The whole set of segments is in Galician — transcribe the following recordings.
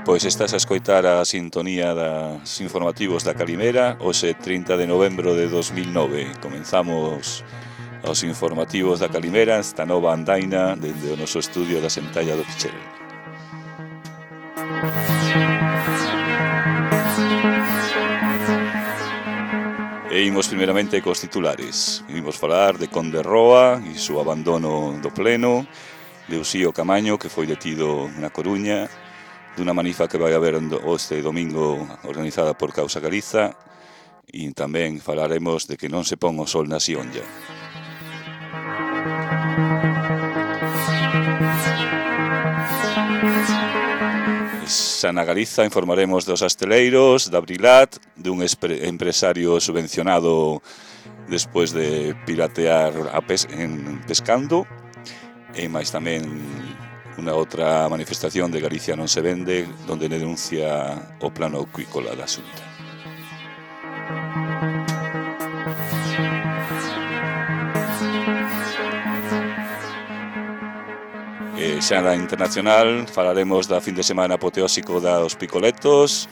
Pois estás a escoitar a sintonía das informativos da Calimera. Hoxe 30 de novembro de 2009 comenzamos os informativos da Calimera, esta nova andaina dende o noso estudio da Sentalla do Pichel. E imos primeramente cos titulares. Imos falar de Conde Roa e o abandono do pleno, de Uxío Camaño, que foi detido na Coruña, dunha manifa que vai haber este domingo organizada por Causa Galiza, e tamén falaremos de que non se pon o sol na Xionlla. Xa na Galiza informaremos dos asteleiros, da Brilat, dun empresario subvencionado despois de piratear pescando, e máis tamén unha outra manifestación de Galicia non se vende, donde denuncia o plano acuícola da Xunta. E xa na internacional falaremos da fin de semana apoteósico dos picoletos,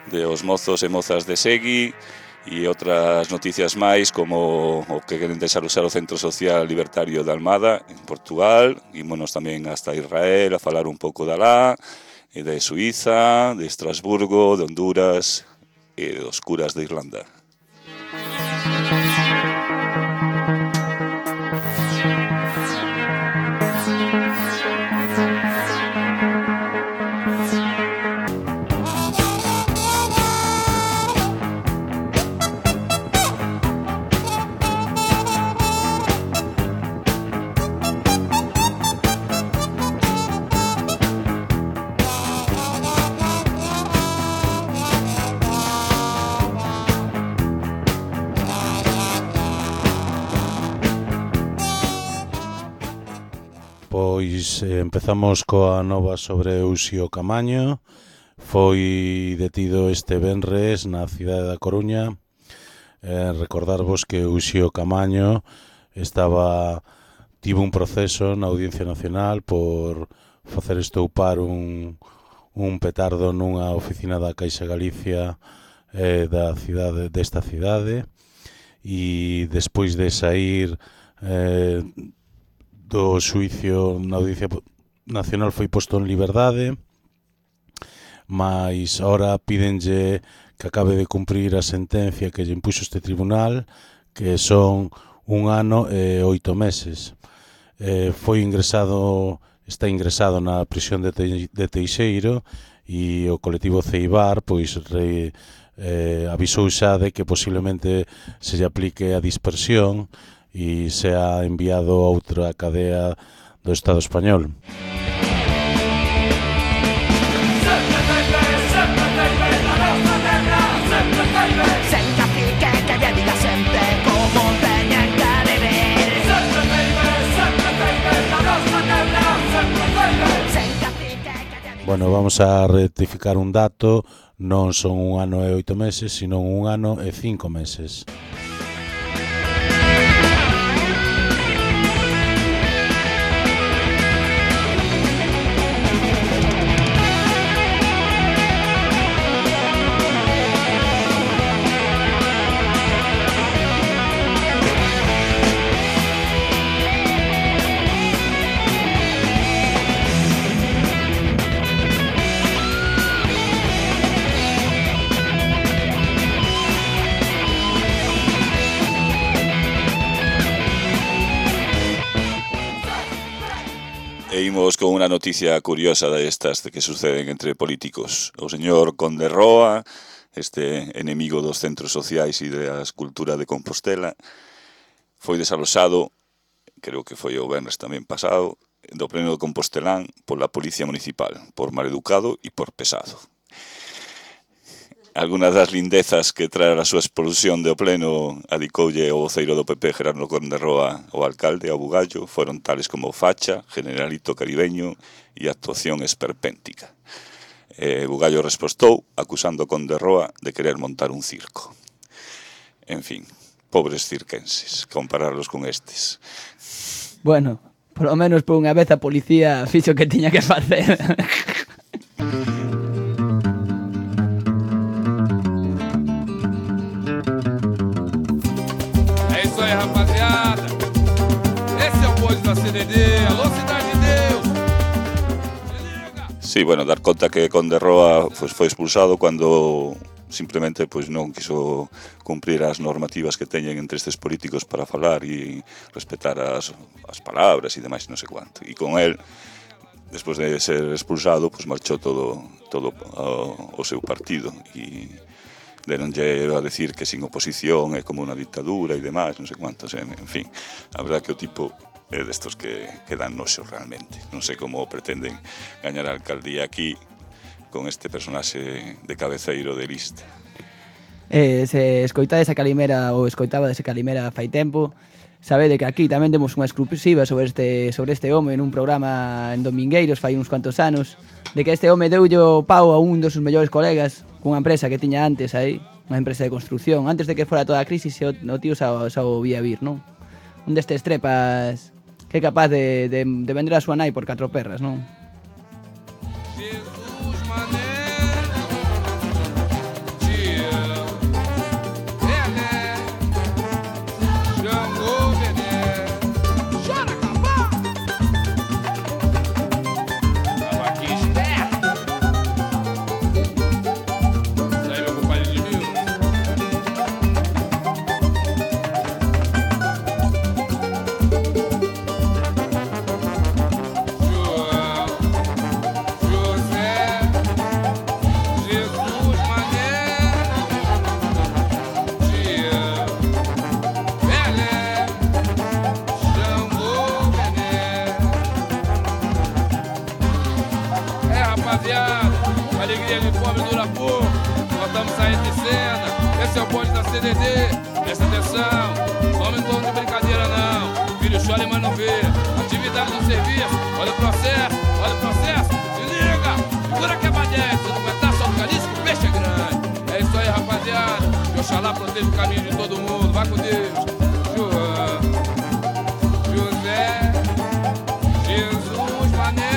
de os mozos e mozas de Segui, e outras noticias máis, como o que queren deixar usar o Centro Social Libertario de Almada en Portugal. Ímonos tamén hasta Israel a falar un pouco de alá, e de Suiza, de Estrasburgo, de Honduras e dos curas de Irlanda. Pois empezamos coa nova sobre Uxío Camaño. Foi detido este venres na cidade da Coruña. Recordarvos que Uxío Camaño tivo un proceso na Audiencia Nacional por facer estoupar un petardo nunha oficina da Caixa Galicia desta cidade, e despois de saír do xuicio na Audiencia Nacional foi posto en liberdade, mas ahora pídenlle que acabe de cumprir a sentencia que lle impuxo este tribunal, que son 1 ano e 8 meses. Está ingresado na prisión de Teixeiro, e o colectivo Ceibar avisou xa de que posiblemente se lle aplique a dispersión e sea enviado a outra cadea do Estado español. Bueno, vamos a rectificar un dato, non son 1 ano e 8 meses, sino 1 ano e 5 meses. E imos con unha noticia curiosa destas que suceden entre políticos. O señor Conde Roa, este enemigo dos centros sociais e da escultura de Compostela, foi desalosado, creo que foi o venres tamén pasado, do pleno de Compostelán pola Policía Municipal, por maleducado e por pesado. Algunas das lindezas que trae a súa expulsión do pleno adicoulle o voceiro do PP Gerardo Conde Roa ao alcalde, ao bugallo, foron tales como facha, generalito caribeño e actuación esperpéntica. Bugallo respostou acusando a Conde Roa de querer montar un circo. En fin, pobres cirquenses, compararlos con estes. Bueno, polo menos por unha vez a policía fixo que tiña que facer. É isso aí, rapaziada. Esse é o Bonde da CDD. Alô, Cidade de Deus. Sí, bueno, dar conta que Conde Roa pues, foi expulsado cando simplemente pues, non quiso cumprir as normativas que teñen entre estes políticos para falar e respetar as palabras e demais, non sei quanto. E con el, despois de ser expulsado, pues, marchou todo o seu partido e deronlle a decir que sin oposición é como unha dictadura e demais, non sei quantos, en fin. A verdad que o tipo é destos que dan noxo realmente. Non sei como pretenden gañar a alcaldía aquí con este personaxe de cabeceiro de lista. Se escoitades a Calimera ou escoitaba dese Calimera fai tempo, sabede que aquí tamén temos unha exclusiva sobre este home nun programa en Domingueiros fai uns cuantos anos, de que este home deulle o pau a un dos seus mellores colegas cunha empresa que tiña antes aí, unha empresa de construcción, antes de que fora toda a crisis, o tío xa o vía vir, non? Un destes trepas que é capaz de vender a súa nai por 4 perras, non? Alegria de fome dura pouco, nós estamos saindo de cena. Esse é o bonde da CDD, presta atenção, não me torno de brincadeira não. Filho chora mas não vê, atividade no serviço, olha o processo, se liga, segura que é badete, se não aguentar só o caliço que o peixe é grande. É isso aí rapaziada, que Oxalá proteja o caminho de todo mundo, vai com Deus. João, José, Jesus, Mané.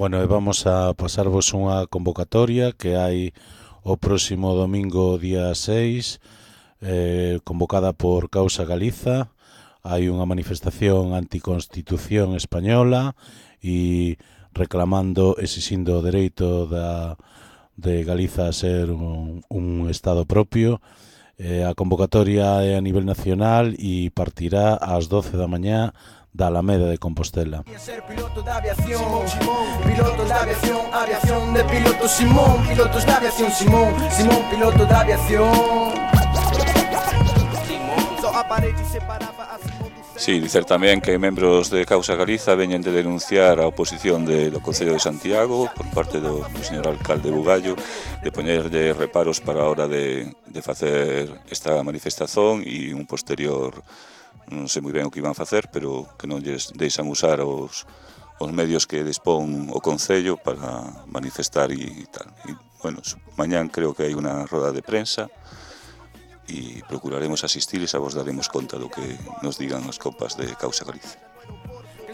Bueno, e vamos a pasarvos unha convocatoria que hai o próximo domingo día 6, convocada por Causa Galiza. Hai unha manifestación anticonstitución española e reclamando, exixindo o dereito de Galiza a ser un estado propio. A convocatoria é a nivel nacional e partirá ás 12 da mañá da Alameda de Compostela. Ser piloto de aviación, piloto de aviación, aviación de piloto Simón, pilotos de aviación Simón, Simón piloto de aviación. Sí, dicer tamén que membros de Causa Galiza veñen de denunciar a oposición do Concello de Santiago por parte do señor alcalde Bugallo de poñerlle reparos para a hora de facer esta manifestación e un posterior, non sei moi ben o que iban a facer, pero que non lles deixan usar os medios que dispón o Concello para manifestar e tal. E, bueno, mañán creo que hai unha roda de prensa e procuraremos asistir e xa vos daremos conta do que nos digan as copas de Causa Galiza.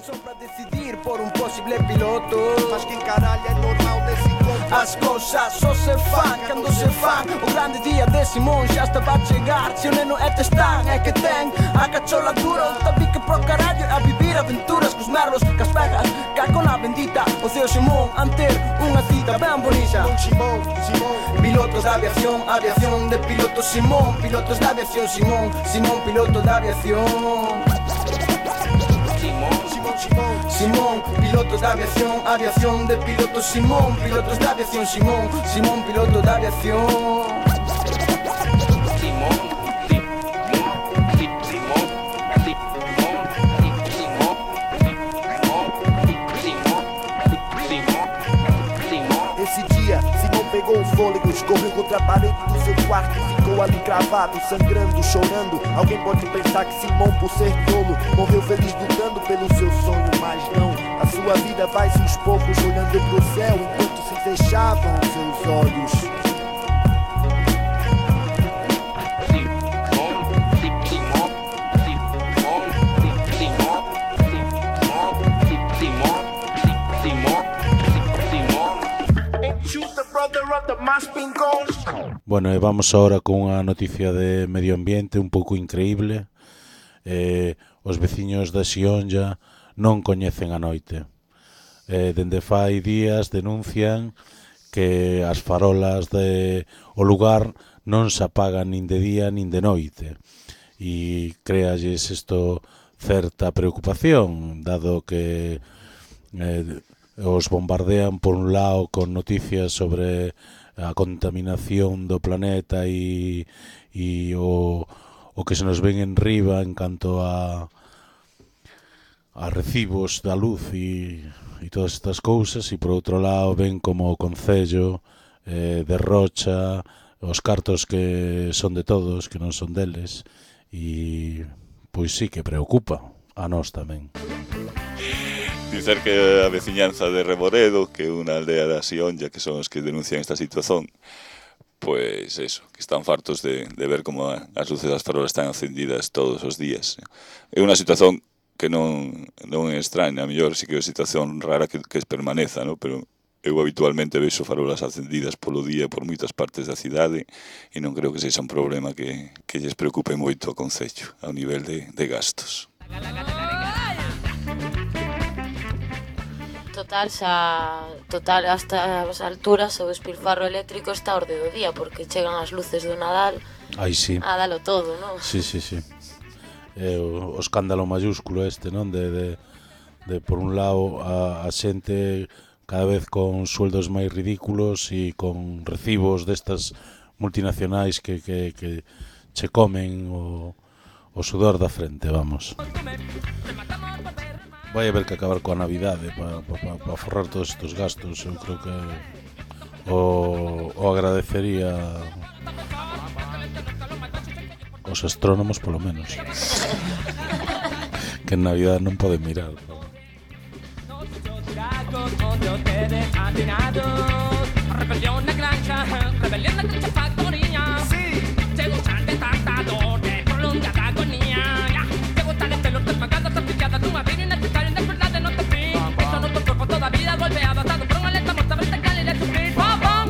Son para decidir por un posible piloto, mas que encaralla é normal desse conto. As cousas só se fan cando se fan. O grande día de Simón xa está a chegar. Se o neno é testar, é que ten a cachola dura. O tabique pro carallo a vivir aventuras cos merlos, cas pegas, caco na bendita. O ceo Simón anter unha cita ben bonita. Simón, Simón, pilotos de aviación, aviación de piloto Simón, pilotos de aviación Simón, Simón piloto de aviación. Simón, pilotos de aviación, aviación de piloto Simón, pilotos de aviación Simón, Simón piloto de aviación. a parede do seu quarto e ficou ali cravado, sangrando, chorando. Alguém pode pensar que Simão, por ser tolo, morreu feliz lutando pelo seu sonho, mas não. A sua vida vai-se aos poucos, olhando pro céu enquanto se fechavam seus olhos. Bueno, e vamos ahora con unha noticia de medio ambiente un pouco increíble. Os veciños da Xionlla non coñecen a noite. Dende fai días denuncian que as farolas o lugar non se apagan nin de día nin de noite. E créalles isto certa preocupación, dado que os bombardean por un lado con noticias sobre a contaminación do planeta e o que se nos ven en riba en canto a recibos da luz e todas estas cousas, e por outro lado ven como o Concello derrocha os cartos que son de todos, que non son deles, e pois sí que preocupa a nós tamén. Dicer que a veciñanza de Reboredo, que é unha aldea da Xionlla, que son os que denuncian esta situación, pois eso, que están fartos de ver como as luces das farolas están encendidas todos os días. É unha situación que non é extraña, a mellor sí que é unha situación rara que permaneza, ¿no? Pero eu habitualmente vexo farolas encendidas polo día por moitas partes da cidade e non creo que sexa un problema que lles preocupe moito ao Concello ao nivel de gastos. Total, hasta as alturas o despilfarro eléctrico está a orde do día, porque chegan as luces do Nadal. Ai, sí. A dalo todo, non? Sí. O escándalo mayúsculo este, non? De por un lado a xente cada vez con sueldos máis ridículos e con recibos destas multinacionais que che comen o sudor da frente, vamos. Vai haber que acabar coa Navidade para forrar todos estes gastos. Eu creo que o agradecería os astrónomos polo menos, que en Navidade non poden mirar. Rebelión na granja factoría. Te gustan de tanta dor, de prolongada agonía. Te gustan de pelos desmagados, apilladas de una vida innecesaria, de verdad no te fui. Esto no tu cuerpo toda vida golpeado, atado por una letra muerta, vertical y de sufrir. Pam, pam,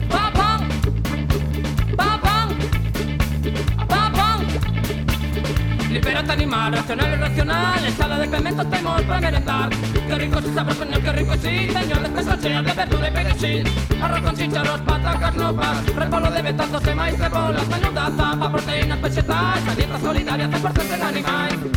pam, pam, pam, pam, pam, pam. Libérate animal, racional y irracional, ensalada de clementos tenemos para merendar. Qué rico es sabor, señor, qué rico sí, señor, después llenas de verdura y perejil. Arroz con chícharos, patacas, nopas, repolo de betazos de maíz, cebolas, menuda zapa, proteínas vegetales, la dieta solidaria, 100% en animal.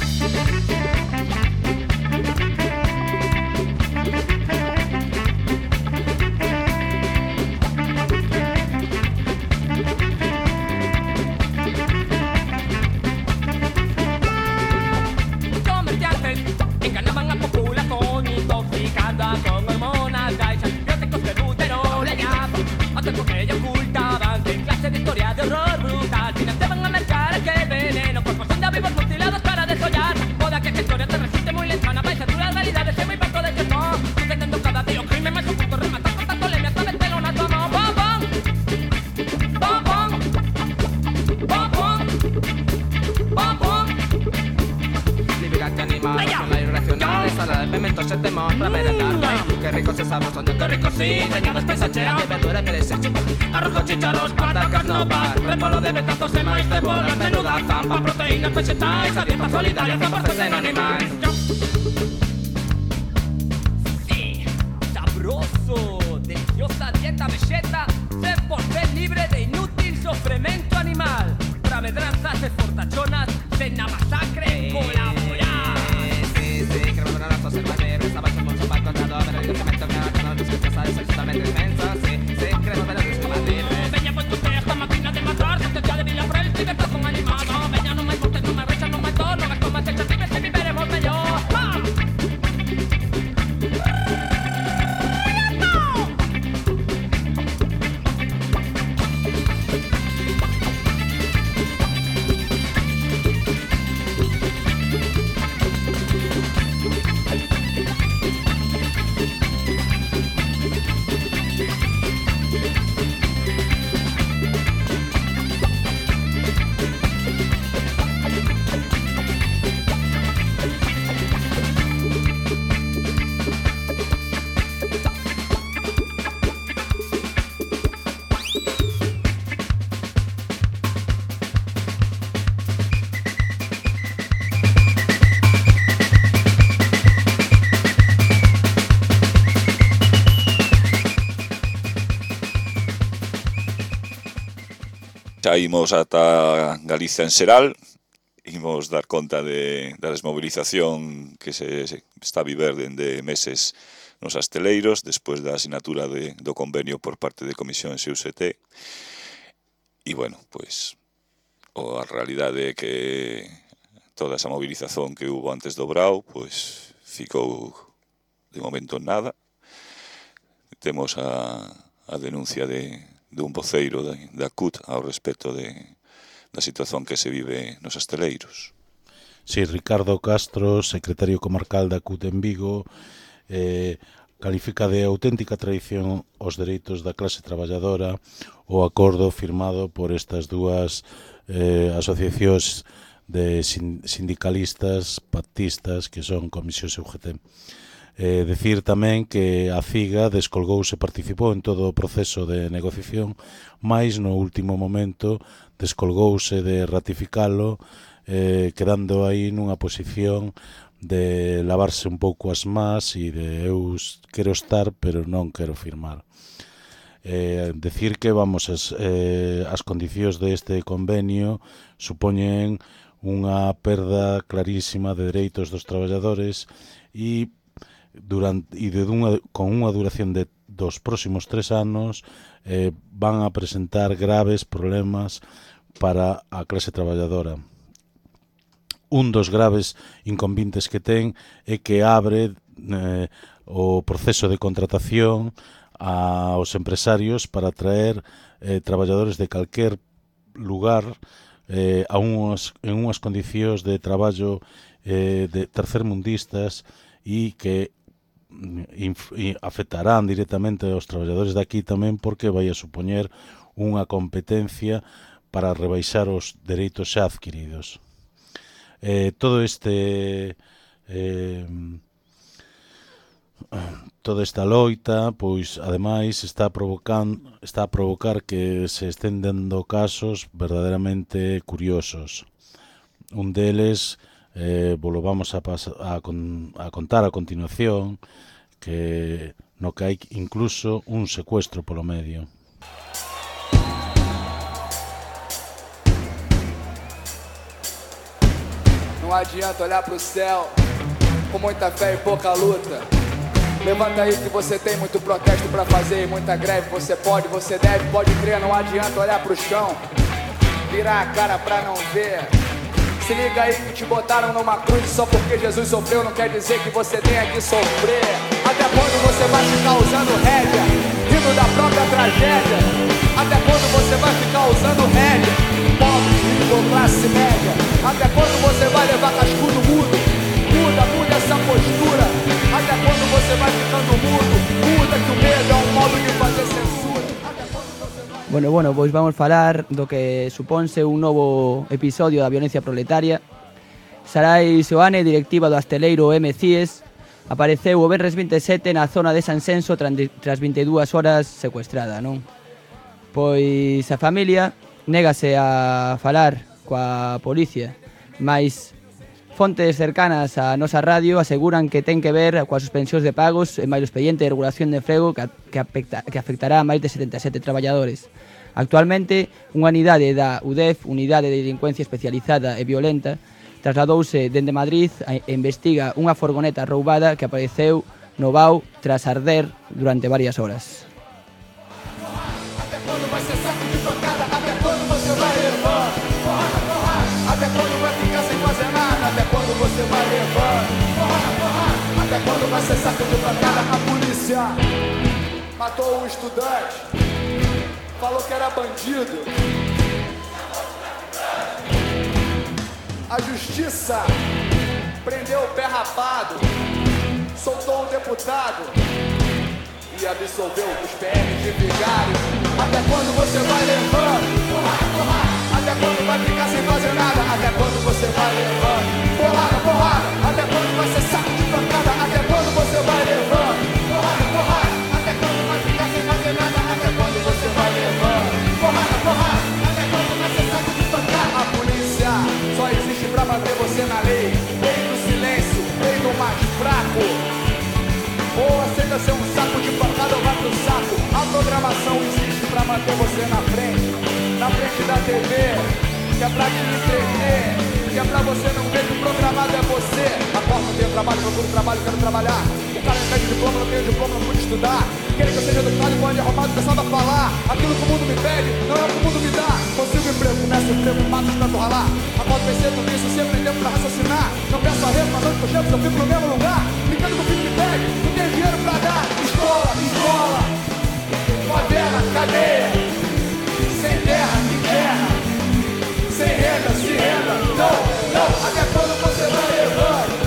Comerciantes enganaban a población intoxicada con hormonas, gays, antibióticos de butero, leñazo, otros que ellos ocultaban, en clase de historia de horror brutal, financiaban a mercar aquel veneno, cuerpos son de vivos mutilados para desollar, moda que esta historia te resulte muy lejana, vais a durar realidades en muy poco de que no, sucediendo cada día un crimen más oculto, rematar con tanto lemia, sabes que no nato no, pom pom, pom pom, pom pom, pom pom. Liberate animal, racional y irracional, ensalada de pimentos se te monta, merendar, qué rico se sabe, son qué rico sí, dañados pensacheras de verdura que desecho, arroz con chícharos, patacas, nopas, repolo de betazos de maíz, cebolas, menuda zapa, proteínas vegetales, a dieta solidaria, 100% en animal. Sí, sabroso, deliciosa dieta vegeta, 100% libre de inútil sofremento animal, travedranzas de fortachonas, cena masacre, colaborar. Sí, que no las observar, estaba en un sopa contado, pero el documento que ha ganado disfrutas es absolutamente inmensa, sí, creo que lo combatir. Veña pues tu teja, máquina de matar, sentencia de vila frel, libertad con animado, veña no me montes, no me rechas, no me tor, no me comas hechas, vives que viviremos mejor. Xa imos ata Galicia en xeral, imos dar conta da desmobilización que se está a viver dende meses nos asteleiros, despois da asinatura do convenio por parte de Comisión XUCT. E, bueno, pois, a realidade é que toda esa movilización que hubo antes do Brao, pois, ficou de momento en nada. Temos a denuncia dun voceiro da CUT ao respecto da situación que se vive nos asteleiros. Sí, Ricardo Castro, secretario comarcal da CUT en Vigo, califica de auténtica traición aos dereitos da clase traballadora o acordo firmado por estas dúas asociacións de sindicalistas pactistas que son Comisión UGT. Decir tamén que a CIGA descolgouse, participou en todo o proceso de negociación, mais no último momento descolgouse de ratificalo, quedando aí nunha posición de lavarse un pouco as más e de eu quero estar pero non quero firmar. Decir que as condicións deste convenio supoñen unha perda clarísima de dereitos dos traballadores e con unha duración dos próximos 3 anos van a presentar graves problemas para a clase traballadora. Un dos graves inconvenientes que ten é que abre o proceso de contratación aos empresarios para traer traballadores de calquer lugar en unhas condicións de traballo de tercermundistas e que afectarán directamente aos traballadores daqui tamén, porque vai a supoñer unha competencia para rebaixar os dereitos xa adquiridos. Toda esta loita, pois, ademais, está a provocar que se estén dando casos verdadeiramente curiosos. Un deles lo vamos a contar a continuación, no que hai incluso un secuestro polo medio. Não adianta olhar pro céu com muita fé e pouca luta. Levanta aí que você tem muito protesto pra fazer e muita greve. Você pode, você deve, pode crer. Não adianta olhar pro chão, virar a cara pra não ver. Se liga aí que te botaram numa cruz. Só porque Jesus sofreu não quer dizer que você tenha que sofrer. Até quando você vai ficar usando rédea, rindo da própria tragédia? Até quando você vai ficar usando rédea, pobre, rico ou classe média? Até quando você vai levar cascudo mudo? Muda essa postura. Até quando você vai ficando mudo? Muda que o medo é um modo de fazer censura. Bueno, pois vamos falar do que suponse un novo episodio da violencia proletaria. Sarai Seoane, directiva do asteleiro M-CIES, apareceu o venres 27 na zona de Sanxenxo tras 22 horas secuestrada, non? Pois a familia négase a falar coa policía, mais fontes cercanas á nosa radio aseguran que ten que ver coas suspensións de pagos e máis o expediente de regulación de emprego que afectará a máis de 77 traballadores. Actualmente, unha unidade da UDEF, Unidade de Delincuencia Especializada e Violenta, trasladouse dende Madrid e investiga unha furgoneta roubada que apareceu no Vao tras arder durante varias horas. Até quando vai ser saco de pancada? Até quando você vai levar? Até quando vai ficar sem fazer nada? Até quando você vai levar? Até quando vai ser saco de pancada? A polícia matou um estudante, falou que era bandido. A justiça prendeu o pé rapado, soltou o deputado e absolveu os PMs de vigário. Até quando você vai levando? Até quando vai ficar sem fazer nada? Até quando você vai levando? Porrada. Até quando vai ser saco de pancada? Até quando você vai levando? Porrada. Até quando vai ficar sem fazer nada? Até quando você vai levando? Porrada. Até quando vai ser saco de pancada? A polícia só existe pra manter você na lei. Lei do silêncio, lei do mais fraco. Ou aceita ser um saco de pancada ou vai pro saco. A programação existe pra manter você na frente, na frente da TV, que é pra te entreter, que é pra você não ver que o programado é você. Acordo, não tenho trabalho, procuro trabalho, quero trabalhar. O cara não pede diploma, não tenho diploma, não pude estudar. Querem que eu seja educado e pode arrumado, começando a falar. Aquilo que o mundo me pede, não é o que o mundo me dá. Consigo emprego, começo emprego, mato de tanto ralar. Acordo pensando nisso, sempre tem tempo pra raciocinar. Não peço arrego, mas onde eu chego, eu fico no mesmo lugar. Brincando com o filho me pede, não tenho dinheiro pra dar. Escola, escola, favela, cadeia. Sem terra, que terra. Sem renda, se renda. Não, não, até quando você vai levando?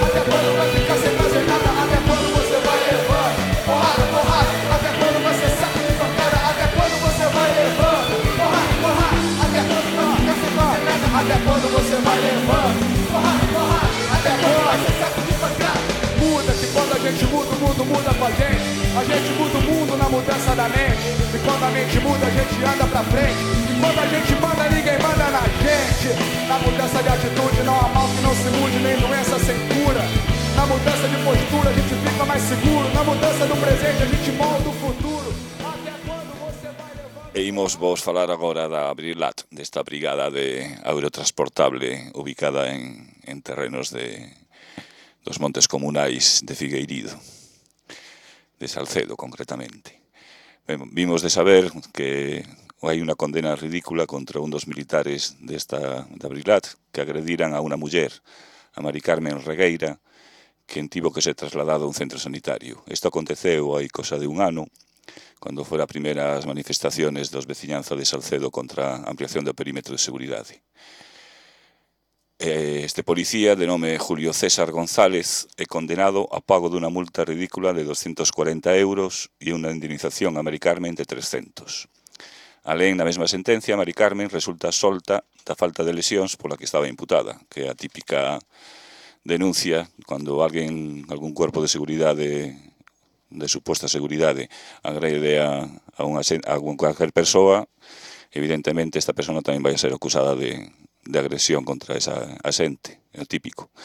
Até quando vai ficar sem fazer nada? Até quando você vai levando? Porrada, porrada, até quando você sabe de pancada? Até quando você vai levando? Porrada, porrada, até quando não fica sem fazer nada? Até quando você vai levando? Porrada, porrada, até quando você sabe de pancada? Muda, que quando a gente muda, o mundo muda com a gente. A gente muda o mundo na mudança da mente. E quando a mente muda, a gente anda pra frente. E quando a gente manda, ninguém manda na gente. Na mudança de atitude, não há mal que não se mude, nem doença sem cura. Na mudança de postura, a gente fica mais seguro. Na mudança do presente, a gente molda o futuro. Até quando você vai levando... E imos vos falar agora da Abrilat, desta brigada de aerotransportable ubicada en terrenos dos montes comunais de Figueirido, de Salcedo concretamente. Vimos de saber que hai unha condena ridícula contra un dos militares de Abrilat que agrediran a unha muller, a Mari Carmen Regueira, que tivo que ser trasladado a un centro sanitario. Isto aconteceu hai cosa de un ano, cando foran as primeiras manifestaciones dos veciñanza de Salcedo contra a ampliación do perímetro de seguridade. Este policía, de nome Julio César González, é condenado a pago dunha multa ridícula de 240 euros e unha indemnización a Mari Carmen de 300. Alén, na mesma sentencia, Mari Carmen resulta solta da falta de lesións pola que estaba imputada, que é a típica denuncia cando algún cuerpo de seguridade, de suposta seguridade, agrede a cualquier persoa, evidentemente esta persona tamén vai a ser acusada de agresión contra esa xente, é o típico.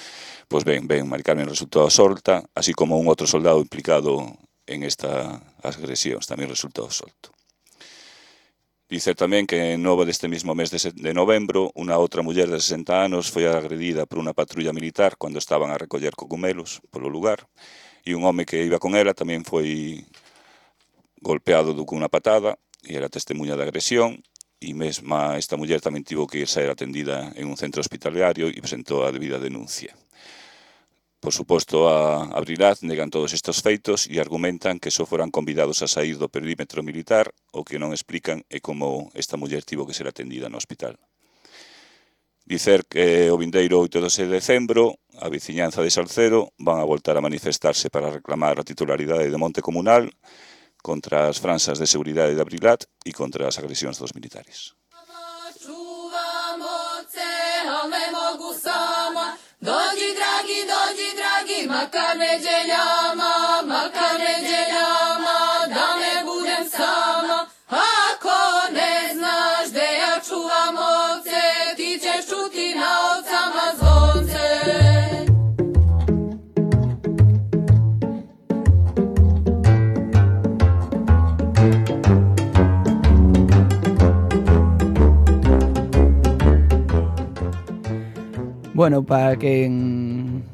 Pois ben, Mari Carmen resultou solta, así como un outro soldado implicado en estas agresións, tamén resultou solto. Dicer tamén que en novo deste mesmo mes de novembro, unha outra muller de 60 anos foi agredida por unha patrulla militar cando estaban a recoller cogumelos polo lugar, e un home que iba con ela tamén foi golpeado con unha patada e era testemunha da agresión, e mesma esta muller tamén tivo que ir ser atendida en un centro hospitalario e presentou a debida denuncia. Por suposto, a Abrilat negan todos estes feitos e argumentan que só foran convidados a sair do perímetro militar, o que non explican é como esta muller tivo que ser atendida no hospital. Dicer que o vindeiro 8 de decembro, a veciñanza de Salcedo van a voltar a manifestarse para reclamar a titularidade do monte comunal contra as franxas de seguridade de Abrilat e contra as agresións dos militares. Dođi dragi, makar neđeljama, da ne budem sama. Ako ne znaš gde ja čuvam ovce, ti ćeš čuti na ovcama zvonce. Bueno, para quen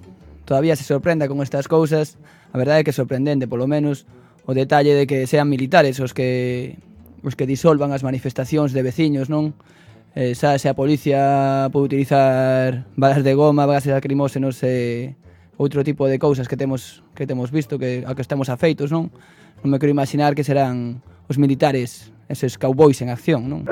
todavía se sorprenda con estas cousas, a verdade é que é sorprendente, polo menos, o detalle de que sean militares os que disolvan as manifestacións de veciños, non? Xa se a policía pode utilizar balas de goma, gases lacrimóxenos e outro tipo de cousas que temos visto, a que estamos afeitos, non? Non me quero imaginar que serán os militares, eses cowboys en acción, non?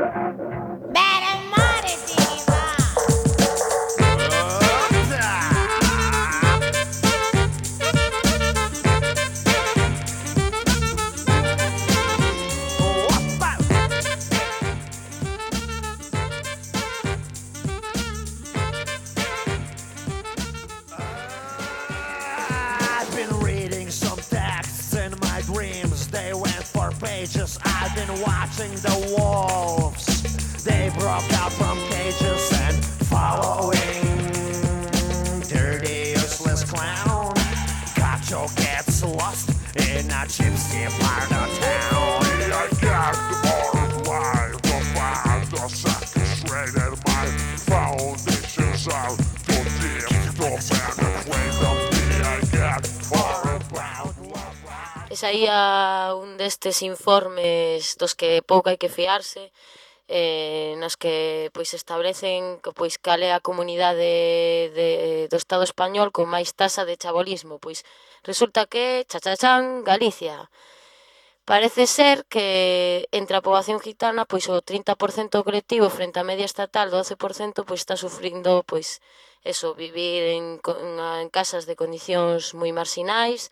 I've been watching the wolves. Esa ia un destes informes dos que pouco hai que fiarse, nas que pois establecen que pois cal é a comunidade do Estado español con máis tasa de chabolismo. Pois resulta que, chachachán, Galicia. Parece ser que entre a poboación gitana, pois o 30% colectivo frente á media estatal do 12%, pois está sufrindo, pois, eso, vivir en casas de condicións moi marxinais,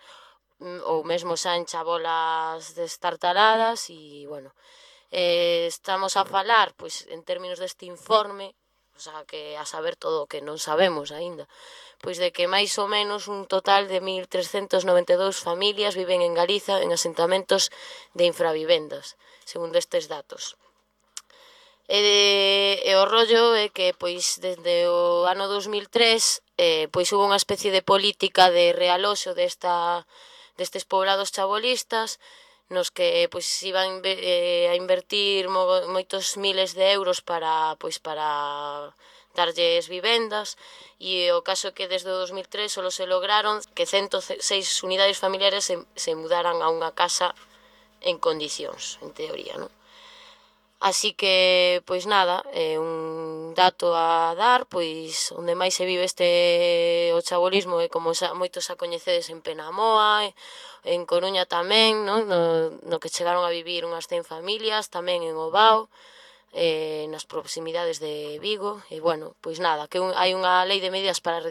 ou mesmo xa en chabolas destartaladas, e, bueno, estamos a falar, pois, en términos deste informe, o sea, que a saber todo o que non sabemos aínda, pois de que máis ou menos un total de 1.392 familias viven en Galiza en asentamentos de infravivendas, segundo estes datos. E o rollo é que, pois, desde o ano 2003, pois, hubo unha especie de política de realoxo destes poblados chabolistas, nos que pois iban a invertir moitos miles de euros para darlles vivendas, e o caso é que desde o 2003 só se lograron que 106 unidades familiares se mudaran a unha casa en condicións, en teoría, non? Así que, pois nada, un dato a dar, pois onde máis se vive o chabolismo é, como moitos a coñecedes, en Penamoa, en Coruña tamén, no que chegaron a vivir unhas 100 familias, tamén en Ovao, nas proximidades de Vigo, e, bueno, pois nada, que hai unha lei de medidas para a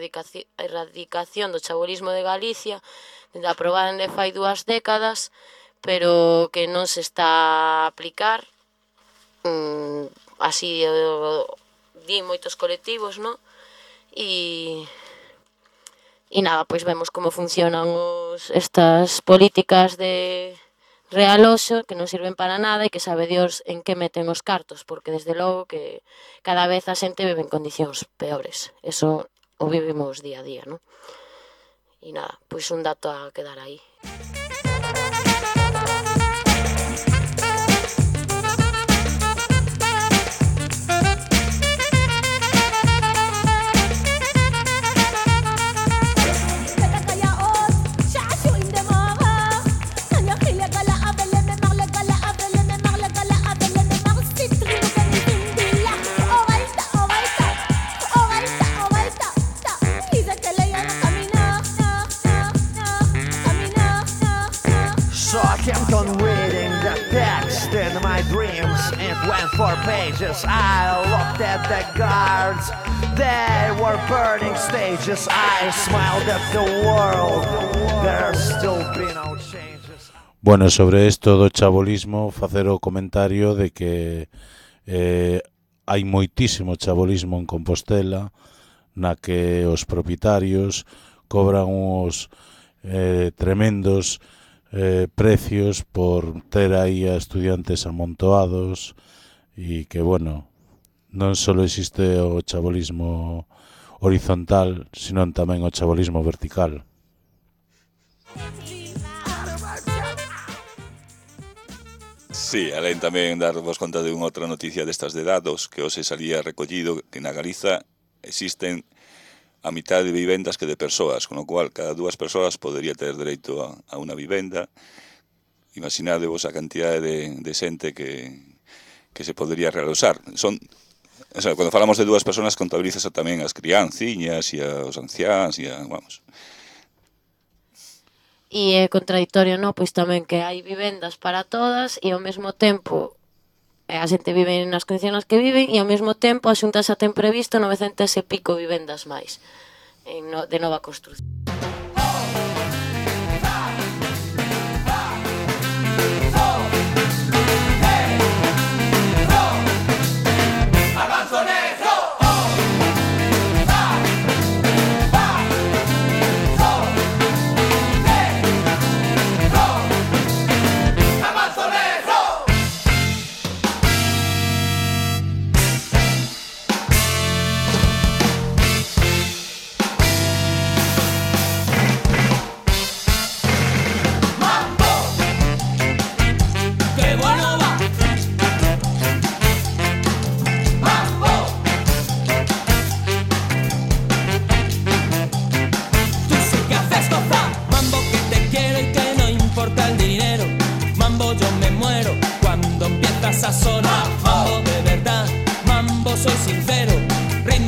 erradicación do chabolismo de Galicia, aprobada de fai 2 décadas, pero que non se está a aplicar, así din moitos colectivos, non? E nada, pois vemos como funcionan estas políticas de realoxo que non sirven para nada e que sabe Dios en que meten os cartos, porque desde logo que cada vez a xente vive en condicións peores. Eso o vivimos día a día, non? E nada, pois un dato a quedar aí. kept on reading the text in my dreams. It went 4 pages. I looked at the guards. They were burning stages. I smiled at the world. There's still been no changes. Bueno, sobre isto do chabolismo, facer o comentario de que hai moitísimo chabolismo en Compostela, na que os propietarios cobran uns tremendos precios por ter aí a estudiantes amontoados, e que, bueno, non só existe o chabolismo horizontal, sino tamén o chabolismo vertical. Sí, alén tamén darvos conta de unha outra noticia destas de dados que hoxe salía recollido que na Galiza existen a mitad de vivendas que de persoas, con o cual cada 2 persoas podería ter dereito a unha vivenda. Imaginadevos a cantidade de xente que se podería realoxar. O sea, cando falamos de 2 persoas contabilizas tamén as crianciñas e os anciáns e vamos. E é contradictorio, non? Pois tamén que hai vivendas para todas e ao mesmo tempo a xente vive nas condicións que viven e ao mesmo tempo a Xunta xa ten previsto 900 e pico vivendas máis de nova construción.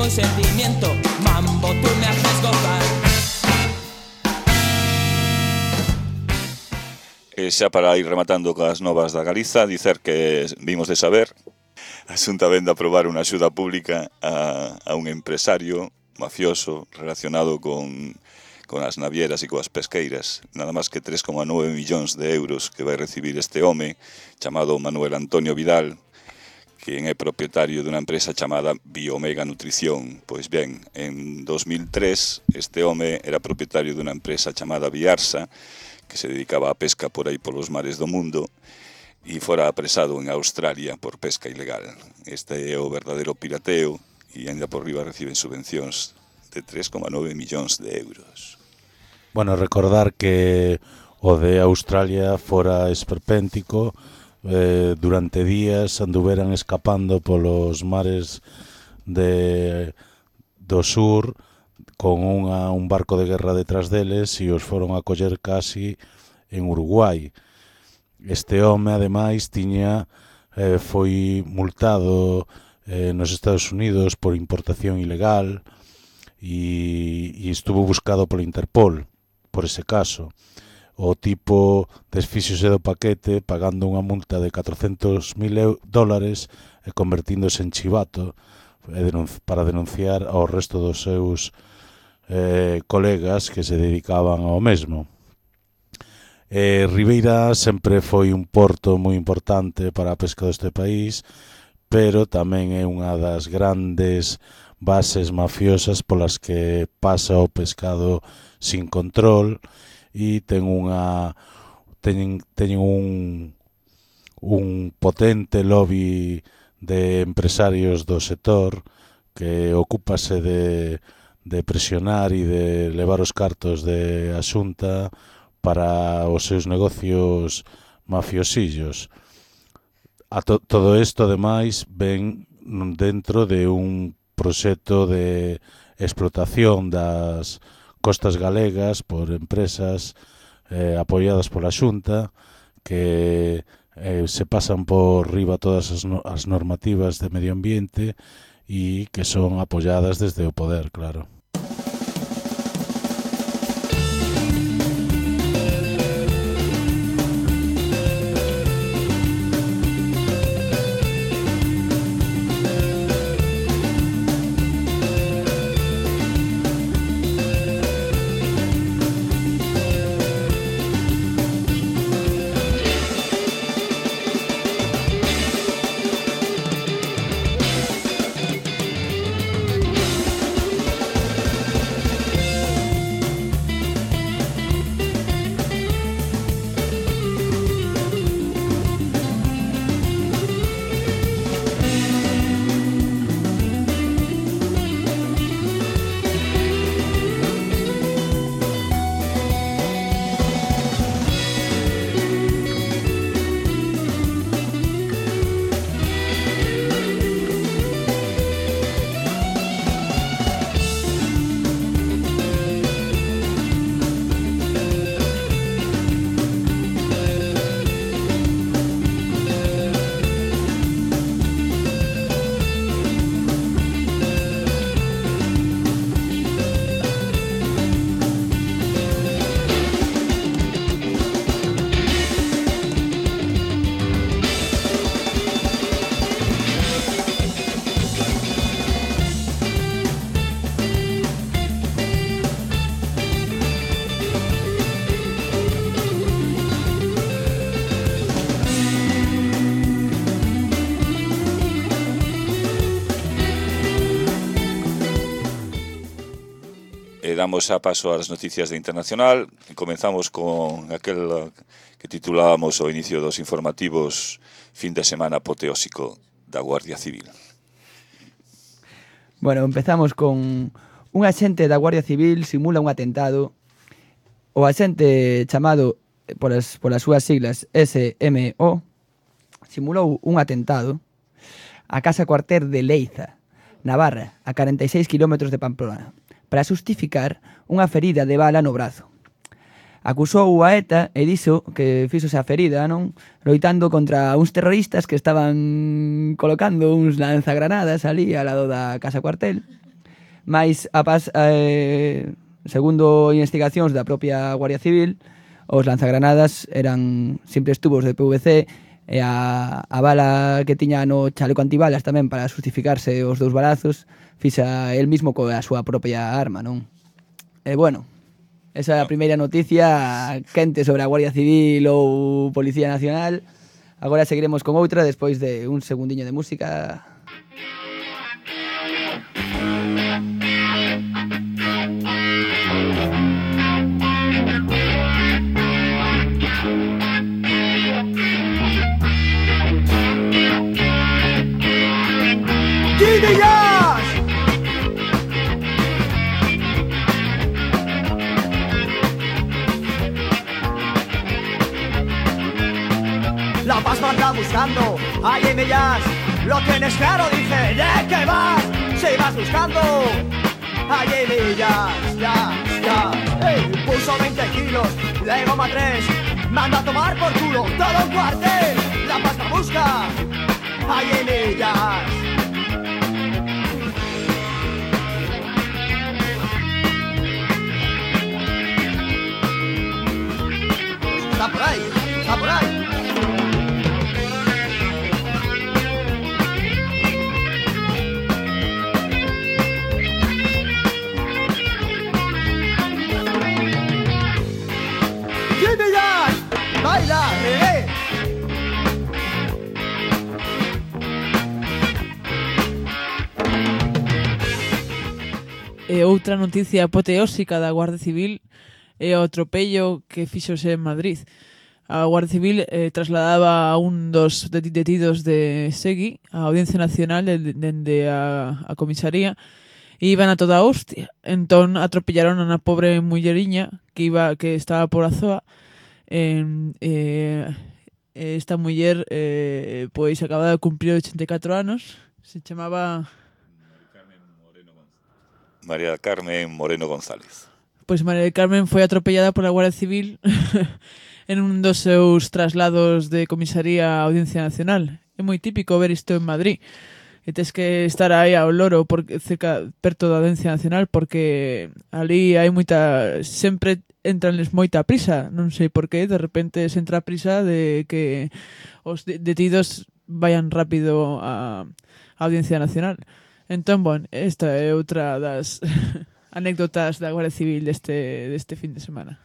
ritmo y sentimiento. Mambo, tú me haces gozar. E xa para ir rematando coas novas da Galiza, dicer que vimos de saber a Xunta vende a aprobar unha axuda pública a un empresario mafioso relacionado con as navieras e coas pesqueiras, nada máis que 3,9 millóns de euros que vai recibir este home chamado Manuel Antonio Vidal, quen é propietario dunha empresa chamada Biomega Nutrición. Pois ben, en 2003 este home era propietario dunha empresa chamada Biarsa, que se dedicaba á pesca por aí polos mares do mundo, e fora apresado en Australia por pesca ilegal. Este é o verdadeiro pirateo, e ainda por riba reciben subvencións de 3,9 millóns de euros. Bueno, recordar que o de Australia fora esperpéntico, durante días anduveran escapando polos mares do sur con un barco de guerra detrás deles e os foron a coller casi en Uruguai. Este home, ademais, foi multado nos Estados Unidos por importación ilegal e estuvo buscado polo Interpol por ese caso. O tipo desfíxose do paquete pagando unha multa de $400,000 e convertíndose en chivato para denunciar ao resto dos seus colegas que se dedicaban ao mesmo. Ribeira sempre foi un porto moi importante para a pesca deste país, pero tamén é unha das grandes bases mafiosas polas que pasa o pescado sin control e teñen un potente lobby de empresarios do sector que ocúpase de presionar e de levar os cartos de a Xunta para os seus negocios mafiosillos. Todo isto, ademais, ven dentro de un proxecto de explotación das costas galegas por empresas apoiadas pola Xunta que se pasan por riba todas as normativas de medio ambiente e que son apoiadas desde o poder, claro. Damos a paso ás noticias de internacional e comenzamos con aquel que titulábamos ao inicio dos informativos fin de semana apoteósico da Guardia Civil. Bueno, empezamos con un axente da Guardia Civil simula un atentado. O axente chamado polas súas siglas SMO simulou un atentado á casa cuartel de Leiza, Navarra, a 46 km de Pamplona, para xustificar unha ferida de bala no brazo. Acusou a ETA e dixo que fixose a ferida, non? Loitando contra uns terroristas que estaban colocando uns lanzagranadas ali ao lado da casa cuartel Mais, segundo investigacións da propia Guardia Civil, os lanzagranadas eran simples tubos de PVC e a bala que tiña no chaleco antibalas tamén para justificarse os 2 balazos fixa el mismo coa súa propia arma, non? E bueno, esa é a primeira noticia quente sobre a Guardia Civil ou Policía Nacional. Agora seguiremos con outra despois de un segundiño de música. La paz anda buscando, ahí en ellas, lo tienes claro, dije, ¿de qué vas? Si vas buscando, ahí en ellas, ya, puso 20 kilos, de goma 3, manda a tomar por culo, todo un cuartel, la paz la busca, ahí en ellas. Está por ahí, está por ahí. Baila, E outra noticia apoteósica da Guardia Civil é o atropello que fixose en Madrid. A Guardia Civil trasladaba a un dos detidos de Segui á Audiencia Nacional dende a comisaría e iban a toda hostia. Entón atropellaron a unha pobre mulleriña que estaba por a zoa. Esta muller pois acababa de cumprir 84 anos. Se chamaba María Carmen Moreno González. Pois María Carmen foi atropellada pola Guardia Civil en un dos seus traslados de comisaría á Audiencia Nacional. É moi típico ver isto en Madrid. E tes que estar aí ao loro perto da Audiencia Nacional porque ali hai sempre entranles moita prisa, non sei por qué, de repente se entra a prisa de que os detidos vayan rápido á Audiencia Nacional. Entón, bueno, esta é outra das anécdotas da Guardia Civil deste fin de semana.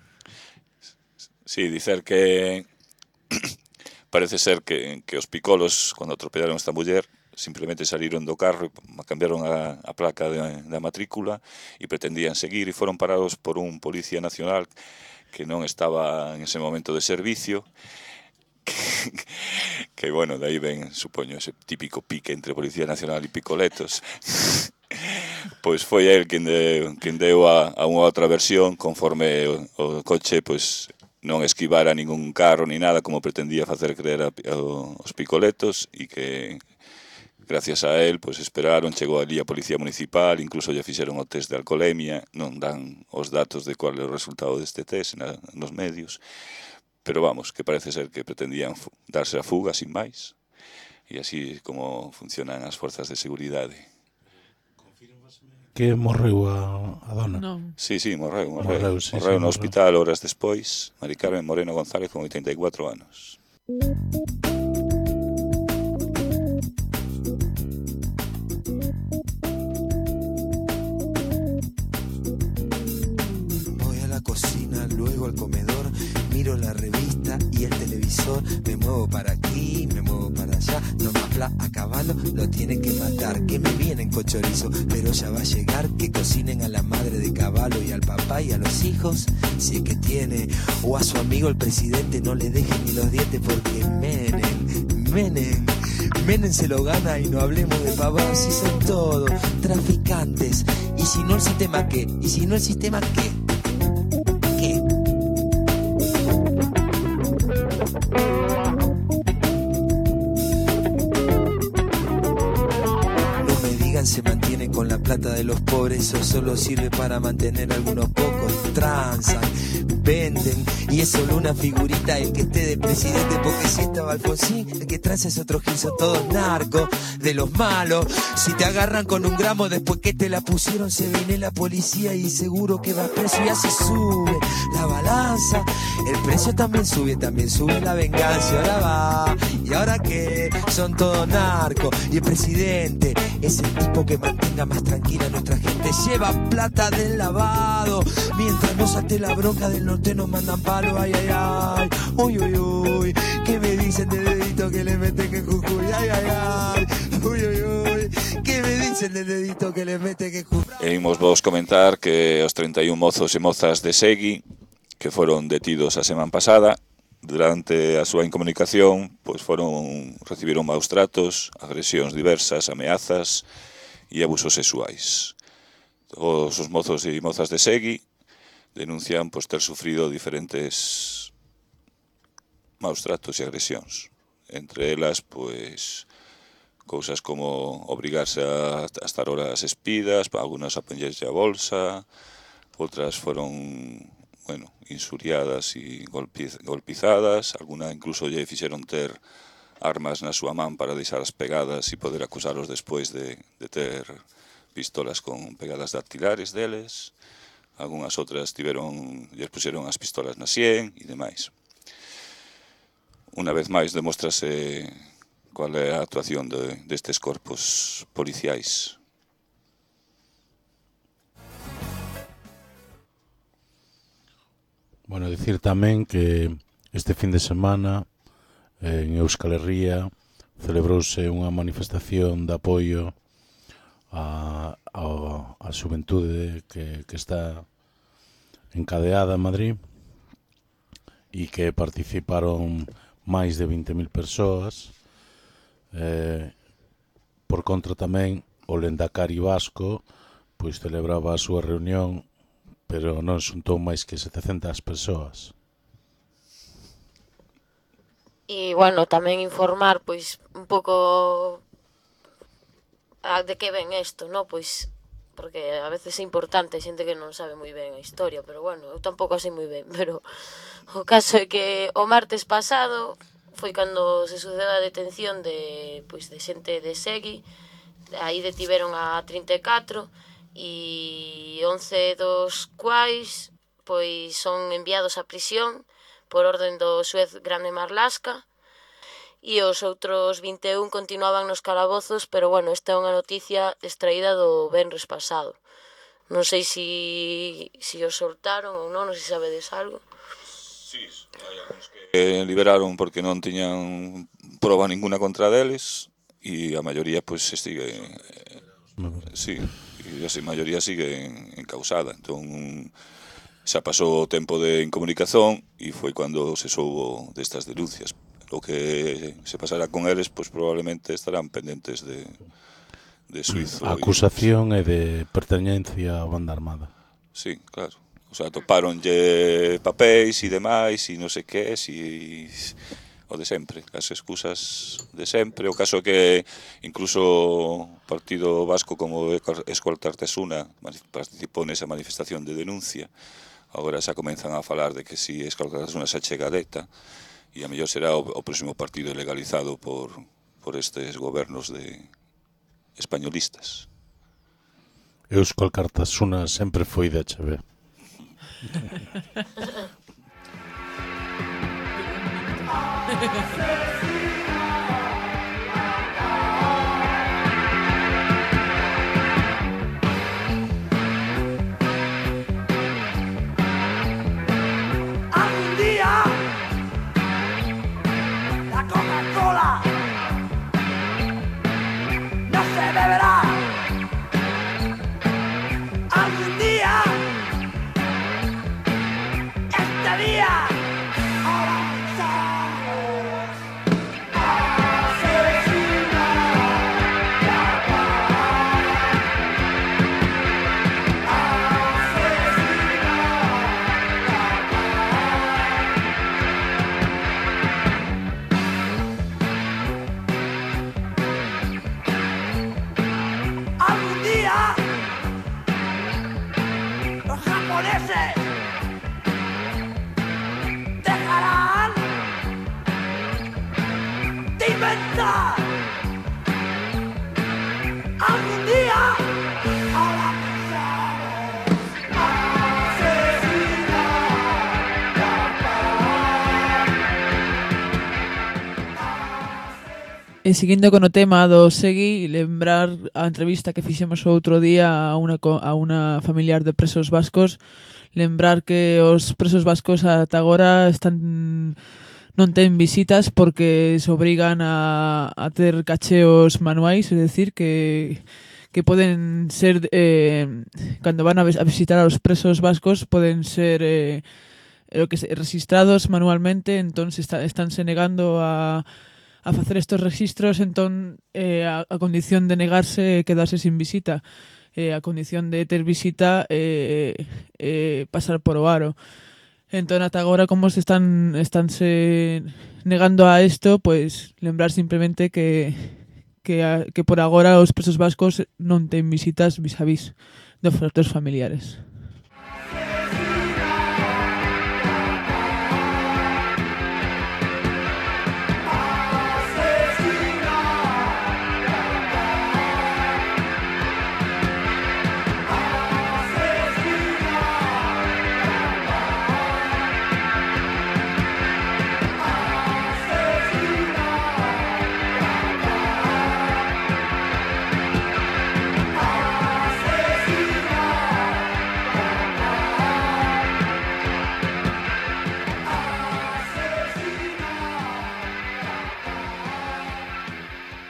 Sí, dicer que parece ser que os picolos, cando atropellaron esta muller, simplemente saliron do carro e cambiaron a placa da matrícula e pretendían seguir e foron parados por un policía nacional que non estaba en ese momento de servicio que bueno, de aí ven, supoño, ese típico pique entre Policía Nacional e picoletos. Pois foi el quen deu a unha outra versión conforme o coche pois non esquivara ningún carro ni nada como pretendía facer creer aos picoletos e que gracias a él, pois esperaron, chegou ali a Policía Municipal, incluso lle fixeron o test de alcoholemia, non dan os datos de cual é o resultado deste test nos medios, pero vamos, que parece ser que pretendían darse a fuga sin máis, e así como funcionan as forzas de seguridade. Que morreu a dona? Non. Sí, morreu Sí, no hospital horas despois, Mari Carmen Moreno González con 84 anos. Cocina, luego al comedor, miro la revista y el televisor, me muevo para aquí, me muevo para allá, no más bla a caballo, lo tienen que matar, que me vienen con chorizo, pero ya va a llegar, que cocinen a la madre de caballo y al papá y a los hijos, si es que tiene, o a su amigo el presidente no le dejen ni los dientes porque Menem se lo gana y no hablemos de pavadas, si son todos traficantes, y si no el sistema qué, y si no el sistema qué. Se mantienen con la plata de los pobres, eso solo sirve para mantener a algunos pocos, transan, venden. Y es solo una figurita el que esté de presidente, porque si estaba Alfonsín, el que trae es otro gil, son todos narcos, de los malos. Si te agarran con un gramo después que te la pusieron, se viene la policía y seguro que vas preso. Y así sube la balanza, el precio también sube la venganza. Y ahora va, y ahora que son todos narcos. Y el presidente es el tipo que mantenga más tranquila a nuestra gente. Lleva plata del lavado, mientras no salte la bronca del norte nos mandan palo. Ay, ay, ay, uy, uy, uy. ¿Qué me dicen del dedito que le meten que Jujuy? Ay, ay, ay, uy, uy, uy. ¿Qué me dicen del dedito que le meten que Jujuy? E imos vos comentar que os 31 mozos e mozas de Segui que foron detidos a semana pasada, durante a súa incomunicación, pois recibiron maus tratos, agresións diversas, ameazas e abusos sexuais. Os mozos e mozas de Segui denuncian pois ter sufrido diferentes maus tratos e agresións. Entre elas, pois, cousas como obrigarse a estar horas espidas, algunas a poñerse a bolsa, outras foron, insuriadas e golpizadas, alguna incluso lle fixeron ter armas na súa man para deixalas pegadas e poder acusalos despois de ter pistolas con pegadas dactilares deles. Algunhas outras lles puxeron as pistolas na sien e demais. Unha vez máis demóstrase cual é a actuación destes corpos policiais. Bueno, dicir tamén que este fin de semana en Euskal Herria celebrouse unha manifestación de apoio a xuventude que está encadeada en Madrid e que participaron máis de 20.000 persoas. Por contra tamén o Lendakari vasco pois celebraba a súa reunión, pero non xuntou máis que 700 persoas. E, tamén informar, pois, un pouco de que ven isto, non? Pois, porque a veces é importante, xente que non sabe moi ben a historia, pero, eu tampouco sei moi ben, pero o caso é que o martes pasado foi cando se sucedeu a detención de xente de Segui. Aí detiveron a 34 e 11 dos quais son enviados a prisión por orden do xuez Grande Marlaska, e os outros 21 continuaban nos calabozos, pero esta é unha noticia extraída do venres pasado. Non sei se os soltaron ou non sei se sabedes algo. Sí, hai algúns que liberaron porque non tiñan proba ninguna contra deles, e a maioría sigue... Sí, e a maioría sigue encausada. Entón, xa pasou o tempo de incomunicación e foi cando se soubo destas denuncias. O que se pasará con eles, probablemente estarán pendentes de suizo. A acusación é de pertenencia á banda armada. Sí, claro. O sea, toparonlle papéis e demais e non sei que, e o de sempre, as excusas de sempre. O caso que incluso o Partido Vasco como Escolta Artesuna participou nesa manifestación de denuncia. Agora xa comenzan a falar de que si Escolta Artesuna xa chega a deta, e a mellor será o próximo partido legalizado por estes gobernos españolistas. Escolta Artesuna sempre foi de HB. Algún día la Coca-Cola no se beberá. Algún día este día los japoneses libertad. Algún día ahora E seguindo con o tema do Segui, lembrar a entrevista que fixemos o outro día a unha familiar de presos vascos, lembrar que os presos vascos ata agora non ten visitas porque se obrigan a ter cacheos manuais, é dicir, que poden ser, cando van a visitar aos presos vascos, poden ser registrados manualmente, entón estánse negando a facer estes registros, entón a condición de negarse quedarse sin visita, a condición de ter visita pasar por o aro. Entón ata agora como estánse negando a isto, pois lembrar simplemente que por agora os presos vascos non ten visitas vis a vis dos seus familiares.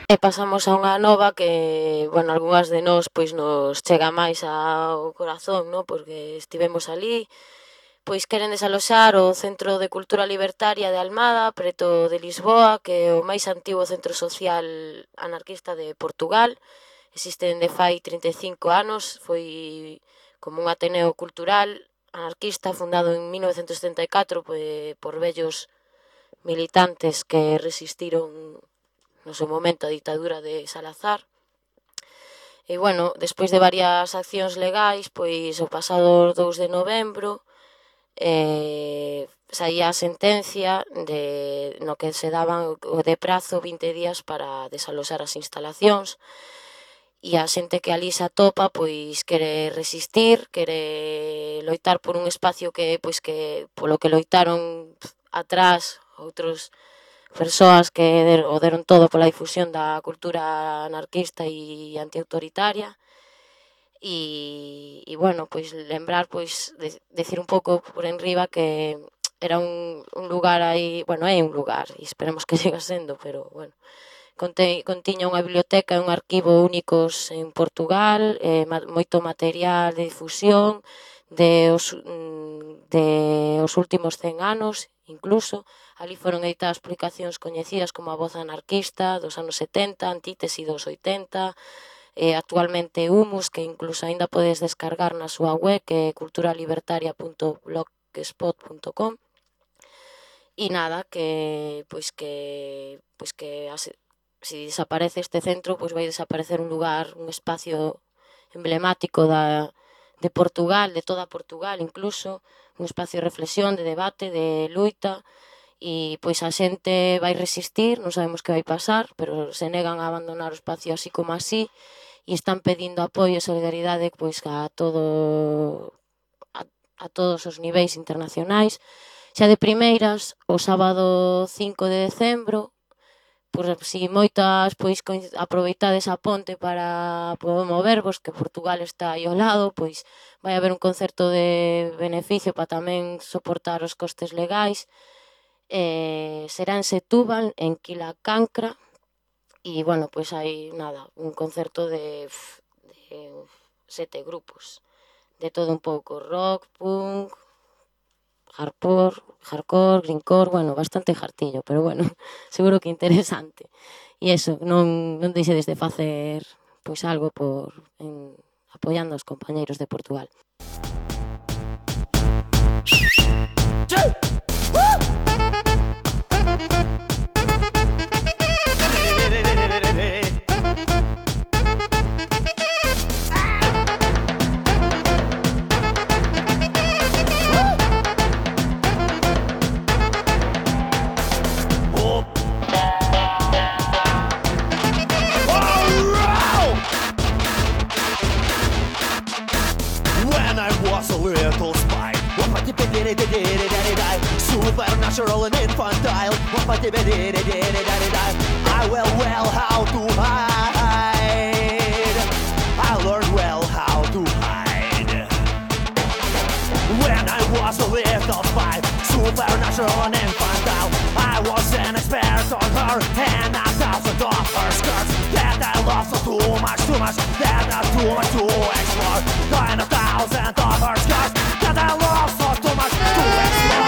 E pasamos a unha nova que, bueno, algunhas de nós pois nos chega máis ao corazón, ¿no? Porque estivemos ali, pois queren desaloxar o Centro de Cultura Libertaria de Almada, preto de Lisboa, que é o máis antigo centro social anarquista de Portugal. Existe dende fai 35 anos, foi como un ateneo cultural anarquista fundado en 1974 por vellos militantes que resistiron no seu momento a ditadura de Salazar. E, bueno, despois de varias accións legais, pois o pasado 2 de novembro saía a sentencia no que se daban de prazo 20 días para desaloxar as instalacións, e a xente que ali se atopa pois quere resistir, quere loitar por un espacio que polo que loitaron atrás outros persoas que o deron todo pola difusión da cultura anarquista e antiautoritaria. E bueno, pois lembrar, pois decir un pouco por enriba que era un lugar aí, bueno, é un lugar e esperemos que siga sendo, pero bueno, contiña unha biblioteca e un arquivo únicos en Portugal, moito material de difusión de os últimos 100 anos, incluso. Ali foron editadas publicacións coñecidas como A Voz Anarquista dos anos 70, Antítesi dos 80, actualmente Humus, que incluso aínda podes descargar na súa web, que é culturalibertaria.blogspot.com. E nada, que se desaparece este centro, pois vai desaparecer un lugar, un espacio emblemático de Portugal, de toda Portugal incluso, un espacio de reflexión, de debate, de luita, e pois a xente vai resistir, non sabemos que vai pasar, pero se negan a abandonar o espacio así como así, e están pedindo apoio e solidaridade pois a todos os niveis internacionais. Xa de primeiras, o sábado 5 de decembro, por si moitas pois aproveitades a ponte para movervos, que Portugal está aí ao lado, pois vai haber un concerto de beneficio para tamén soportar os costes legais. Será en Setúbal, en Quilacancra, e, bueno, pois hai, nada, un concerto de 7 grupos, de todo un pouco, rock, punk, hardcore, greencore, bueno, bastante jartillo, pero, bueno, seguro que interesante. E iso, non deixedes de facer, pois, algo apoiando aos compañeiros de Portugal. Supernatural and infantile. I will well how to hide. I learned well how to hide. When I was a little spy, supernatural and infantile, I was an expert on her and 1,000 of her skirts. That I love so too much, that not too much to explore. 9,000 of her skirts, that I love so too much to explore.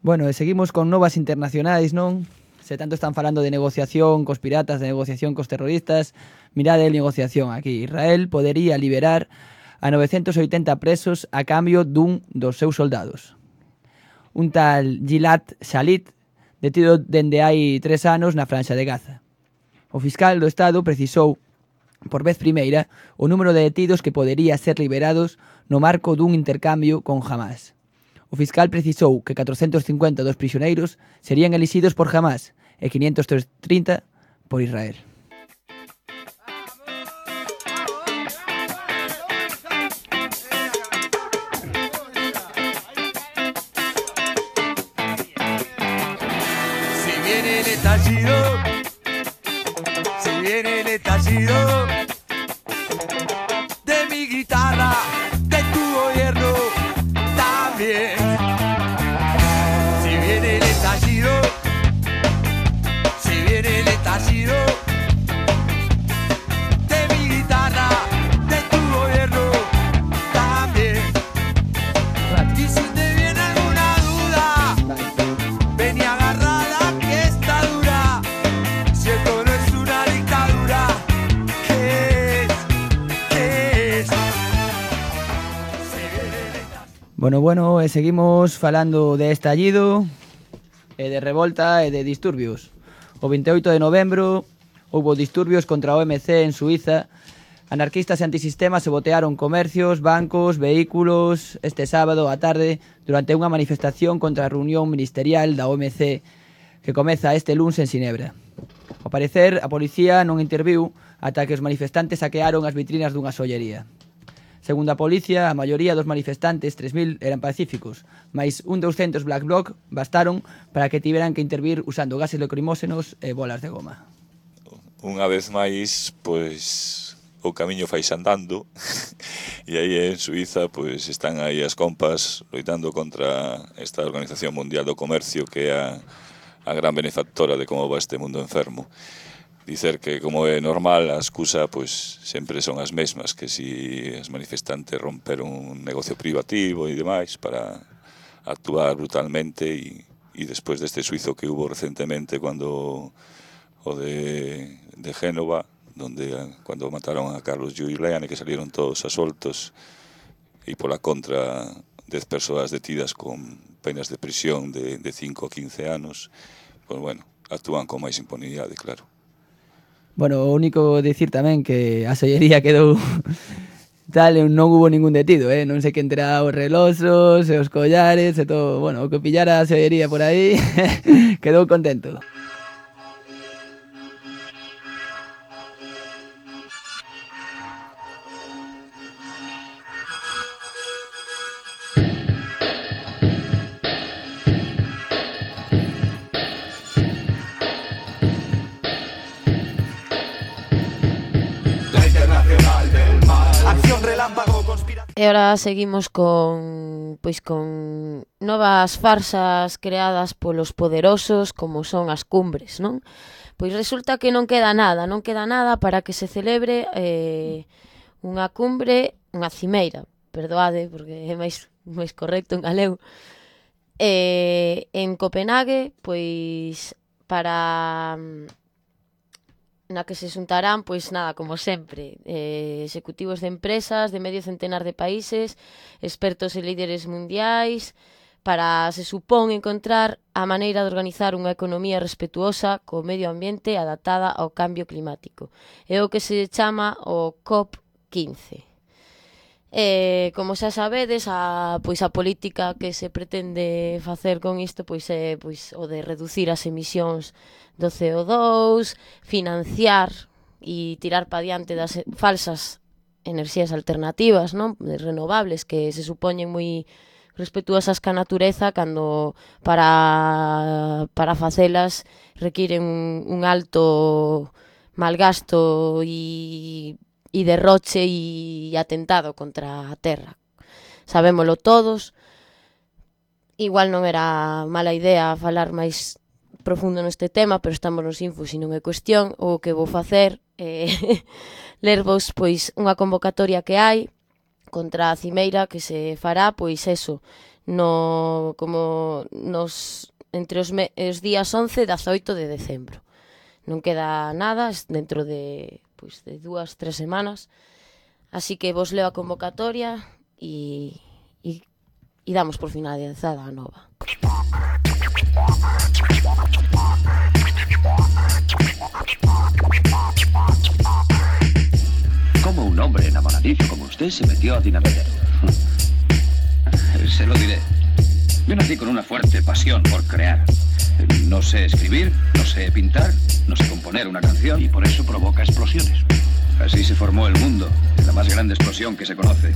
Bueno, e seguimos con novas internacionais, non? Se tanto están falando de negociación cos piratas, de negociación cos terroristas, mirade a negociación aquí. Israel podería liberar a 980 presos a cambio dun dos seus soldados. Un tal Gilad Shalit, detido dende hai 3 anos na Franxa de Gaza. O fiscal do Estado precisou, por vez primeira, o número de detidos que podería ser liberados no marco dun intercambio con Hamas. O fiscal precisou que 450 dos prisioneiros serían elixidos por Hamas e 530 por Israel. Si viene el estallido, si viene el estallido de mi guitarra, de tu gobierno también. Si viene el estallido, si viene el estallido de mi guitarra, de tu gobierno también. Y si te viene alguna duda, ven y agarrala que está dura. Si esto no es una dictadura, ¿qué es? ¿Qué es? Bueno, e seguimos falando de estallido, e de revolta e de disturbios. O 28 de novembro houbo disturbios contra a OMC en Suiza. Anarquistas e antisistemas se botearon comercios, bancos, vehículos este sábado á tarde durante unha manifestación contra a reunión ministerial da OMC que comeza este luns en Ginebra. Ao parecer, a policía non interviu ata que os manifestantes saquearon as vitrinas dunha sollería. Segundo a policía, a maioría dos manifestantes, 3.000, eran pacíficos, mais un 200 black bloc bastaron para que tiveran que intervir usando gases lacrimóxenos e bolas de goma. Unha vez máis, pois, o camiño fais andando, e aí en Suiza, pois, están aí as compas loitando contra esta Organización Mundial do Comercio, que é a gran benefactora de como va este mundo enfermo. Dicer que, como é normal, a excusa pois, sempre son as mesmas, que si as manifestantes romperon un negocio privativo e demais para actuar brutalmente e despois deste suizo que hubo recentemente cando o de Génova, donde cando mataron a Carlos Giuliani, que salieron todos asoltos e pola contra 10 persoas detidas con penas de prisión de 5 a 15 anos, pois bueno, actúan con máis impunidade, claro. Bueno, o único dicir tamén que a sollería quedou tal, non hubo ningún detido, non sei quen terá os reloxos e os collares e todo, bueno, o que pillara a sollería por aí quedou contento. E agora seguimos con novas farsas creadas polos poderosos como son as cumbres, non? Pois resulta que non queda nada para que se celebre unha cumbre, unha cimeira, perdoade, porque é máis correcto en galego. En Copenhague, pois, para na que se xuntarán, pois nada, como sempre, executivos de empresas de medio centenar de países, expertos e líderes mundiais, para, se supón, encontrar a maneira de organizar unha economía respetuosa co medio ambiente adaptada ao cambio climático. É o que se chama o COP15. Como xa sabedes, a política que se pretende facer con isto é o de reducir as emisións do CO2, financiar e tirar pa diante das falsas enerxías alternativas, non? Renovables, que se supoñen moi respetuosas ca natureza, cando para facelas requiren un alto malgasto e derroche e atentado contra a terra. Sabémolo todos. Igual non era mala idea falar máis profundo neste tema, pero estamos nos infos e non é cuestión. O que vou facer é lervos pois unha convocatoria que hai contra a cimeira que se fará, pois eso, entre os días 11 e 18 de decembro. Non queda nada, dentro de 2-3 semanas, así que vos leo a convocatoria e damos por finalizada a nova. ¿Cómo un hombre enamoradizo como usted se metió a dinamitero? Se lo diré. Yo nací con una fuerte pasión por crear. No sé escribir, no sé pintar, no sé componer una canción y por eso provoca explosiones. Así se formó el mundo, la más grande explosión que se conoce.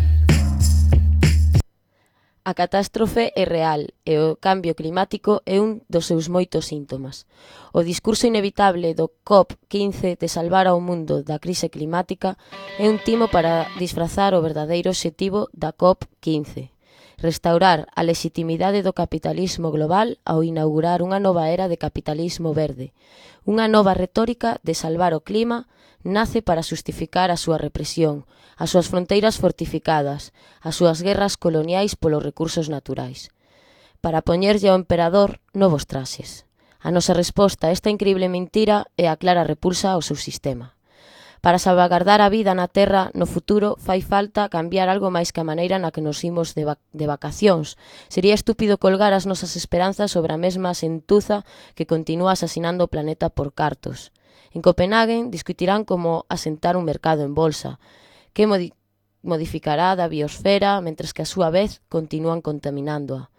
A catástrofe é real e o cambio climático é un dos seus moitos síntomas. O discurso inevitable do COP15 de salvar ao mundo da crise climática é un timo para disfrazar o verdadeiro obxectivo da COP15. Restaurar a legitimidade do capitalismo global ao inaugurar unha nova era de capitalismo verde. Unha nova retórica de salvar o clima nace para xustificar a súa represión, as súas fronteiras fortificadas, as súas guerras coloniais polos recursos naturais. Para poñerlle ao emperador novos traxes. A nosa resposta a esta increíble mentira é a clara repulsa ao seu sistema. Para salvagardar a vida na Terra no futuro fai falta cambiar algo máis que a maneira na que nos imos de vacacións. Sería estúpido colgar as nosas esperanzas sobre a mesma sentuza que continúa asasinando o planeta por cartos. En Copenhague discutirán como asentar un mercado en bolsa, que modificará da biosfera, mentres que a súa vez continúan contaminándoa.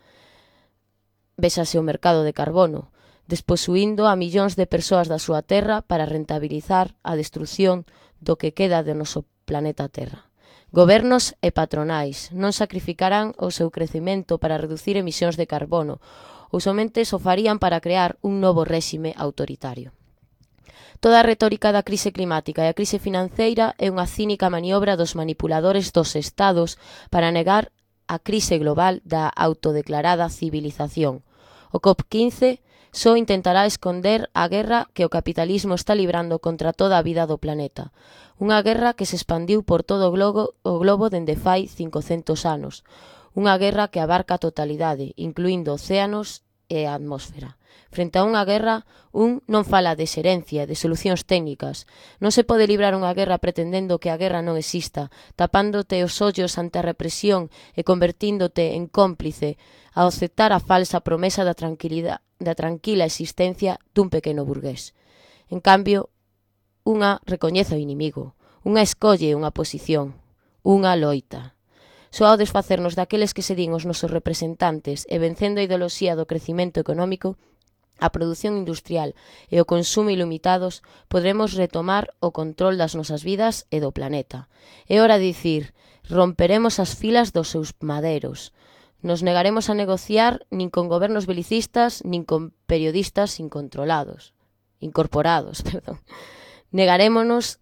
Véxase o mercado de carbono, desposuindo a millóns de persoas da súa terra para rentabilizar a destrucción do que queda do noso planeta Terra. Gobernos e patronais non sacrificarán o seu crecemento para reducir emisións de carbono, ou somente o farían para crear un novo réxime autoritario. Toda a retórica da crise climática e a crise financeira é unha cínica maniobra dos manipuladores dos estados para negar a crise global da autodeclarada civilización. O COP15 só intentará esconder a guerra que o capitalismo está librando contra toda a vida do planeta. Unha guerra que se expandiu por todo o globo dende fai 500 anos. Unha guerra que abarca a totalidade, incluindo océanos e a atmósfera. Frente a unha guerra, non fala de xerencia, de solucións técnicas. Non se pode librar unha guerra pretendendo que a guerra non exista, tapándote os ollos ante a represión e convertíndote en cómplice ao aceptar a falsa promesa da tranquila existencia dun pequeno burgués. En cambio, unha recoñece o inimigo, unha escolle unha posición, unha loita. Só ao desfacernos daqueles que se din os nosos representantes e vencendo a ideoloxía do crecimento económico, a produción industrial e o consumo ilimitados, podremos retomar o control das nosas vidas e do planeta. É hora de dicir, romperemos as filas dos seus maderos. Nos negaremos a negociar nin con gobernos belicistas, nin con periodistas incorporados. Negarémonos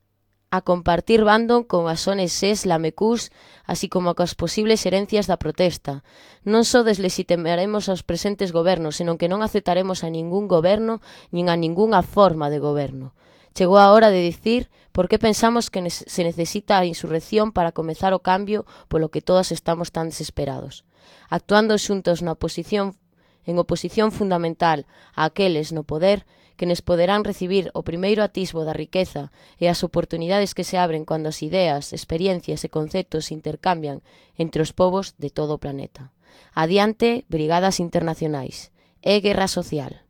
a compartir bando con as ONGs lamecús, así como coas posibles herencias da protesta. Non só deslegitimaremos aos presentes gobernos, senón que non aceptaremos a ningún goberno nin a ningunha forma de goberno. Chegou a hora de dicir por que pensamos que se necesita a insurrección para comezar o cambio polo que todos estamos tan desesperados. Actuando xuntos en oposición fundamental a aqueles no poder que nos poderán recibir o primeiro atisbo da riqueza e as oportunidades que se abren cando as ideas, experiencias e conceptos se intercambian entre os povos de todo o planeta. Adiante, brigadas internacionais. É guerra social,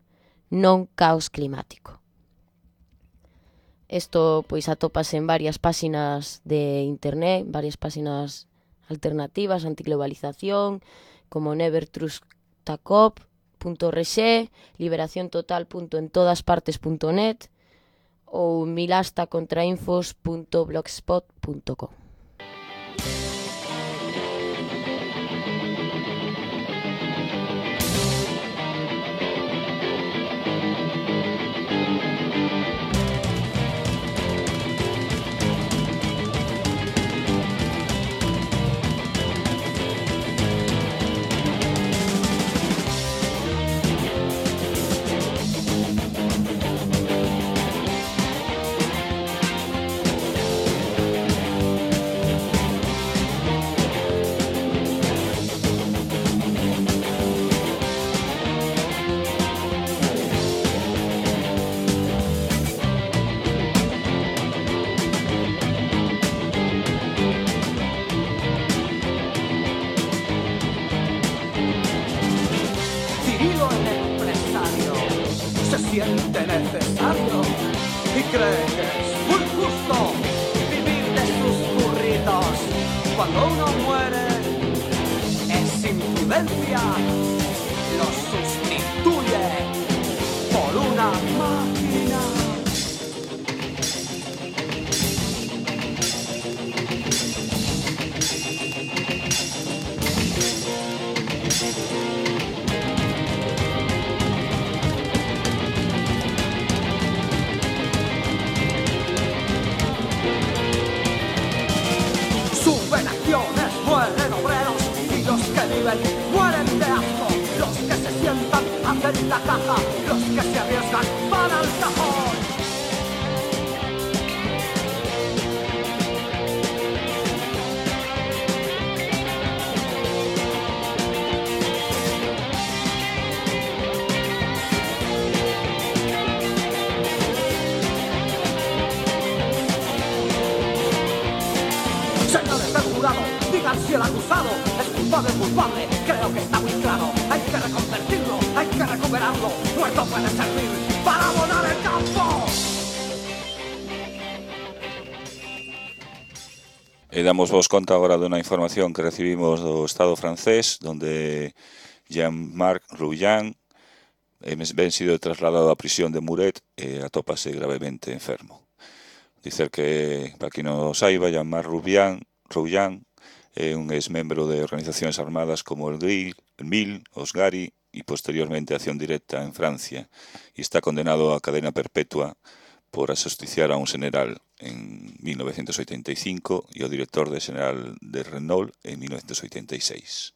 non caos climático. Isto pois atópase en varias páxinas de internet, varias páxinas alternativas, antiglobalización, como nevertrustacop.org, liberaciontotal.entodaspartes.net ou milastacontrainfos.blogspot.com. Siente necesario y cree que es muy justo vivir de sus burritos. Cuando uno muere es imprudencia, lo sustituye por una máquina. Mueren obreros y los que viven mueren de asco. Los que se sientan hacen la caja, los que se arriesgan van al cajón. Señores del jurado, digan si el acusado es culpable o culpable. Creo que está muy claro. Hay que reconvertirlo, hay que recuperarlo. Muerto puede servir para abonar el campo. E damos vos conta agora dunha información que recibimos do Estado francés, donde Jean-Marc Rouillan ben sido trasladado á prisión de Muret e atópase gravemente enfermo. Dicer que, para quien non o saiba, Jean-Marc Rouillan é un ex-membro de organizacións armadas como el MIL, os GARI e posteriormente Acción Directa en Francia, e está condenado a cadena perpetua por asusticiar a un general en 1985 e o director de general de Renault en 1986.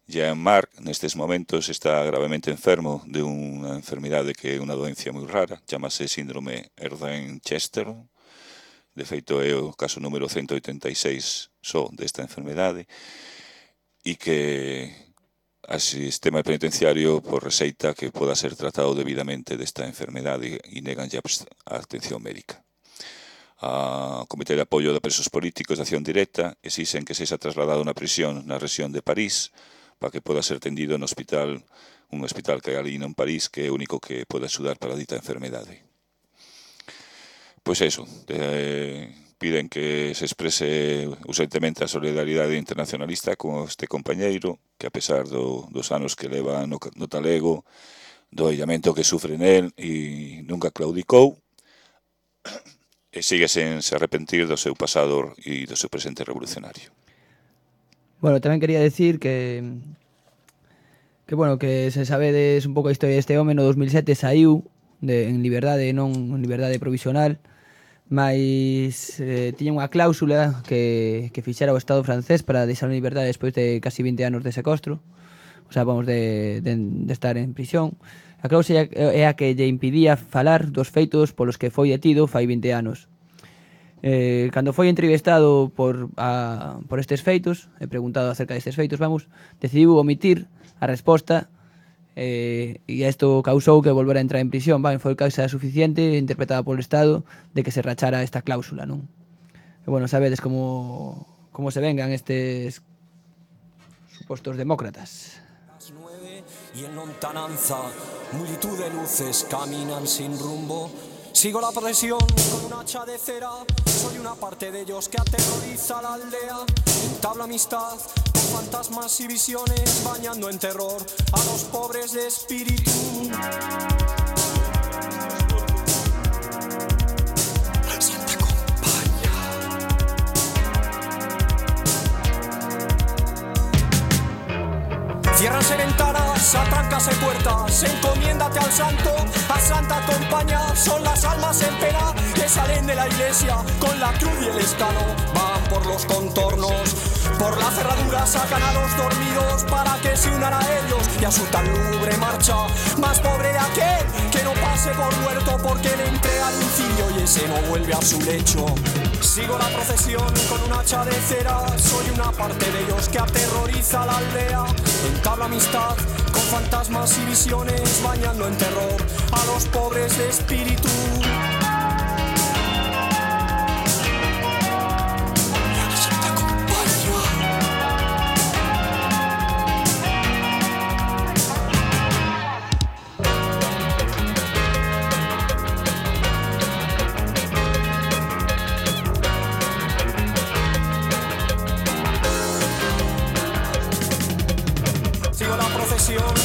Jean-Marc nestes momentos está gravemente enfermo de unha enfermidade que é unha doencia moi rara, chamase síndrome Erdheim-Chester. De feito é o caso número 186 só desta enfermedade e que o sistema penitenciario por receita que poda ser tratado debidamente desta enfermedade e negan a atención médica. A Comité de Apoio de Presos Políticos de Acción Directa exixen que sexa trasladado na prisión na rexión de París para que poda ser tendido no hospital, un hospital que hai ali en París que é o único que pode axudar para a dita enfermedade. Pois eso, piden que se exprese urgentemente a solidaridade internacionalista con este compañeiro que a pesar dos anos que leva no talego, do illamento que sufre nel e nunca claudicou e sigue sen se arrepentir do seu pasado e do seu presente revolucionario. Bueno, tamén quería decir que se sabedes un pouco a historia deste home, no 2007 saiu en liberdade, non en liberdade provisional, mas tiña unha cláusula que fixera o Estado francés para deixar en liberdade despois de casi 20 anos de secuestro, o sea, vamos, de estar en prisión. A cláusula é a que lle impidía falar dos feitos polos que foi detido fai 20 anos. Cando foi entrevistado por estes feitos, e preguntado acerca destes feitos, decidiu omitir a resposta, e isto causou que volvera a entrar en prisión. Foi causa suficiente, interpretada polo Estado, de que se rachara esta cláusula, non? E, bueno, sabedes como se vengan estes supostos demócratas. Y en lontananza, multitud de luces caminan sin rumbo. Sigo la procesión con un hacha de cera. Soy una parte de ellos que aterroriza la aldea. Entablo amistad con fantasmas y visiones, bañando en terror a los pobres de espíritu. Ciérranse ventanas, atráncase puertas, encomiéndate al santo, a santa compañía. Son las almas en pena que salen de la iglesia con la cruz y el escano. Van por los contornos, por la cerradura sacan a los dormidos para que se unan a ellos y a su tan lúgubre marcha. Más pobre de aquel que no pase por muerto porque le entrega al incidio y ese no vuelve a su lecho. Sigo la procesión con un hacha de cera. Soy una parte de ellos que aterroriza la aldea. Entablo amistad con fantasmas y visiones, bañando en terror a los pobres de espíritu.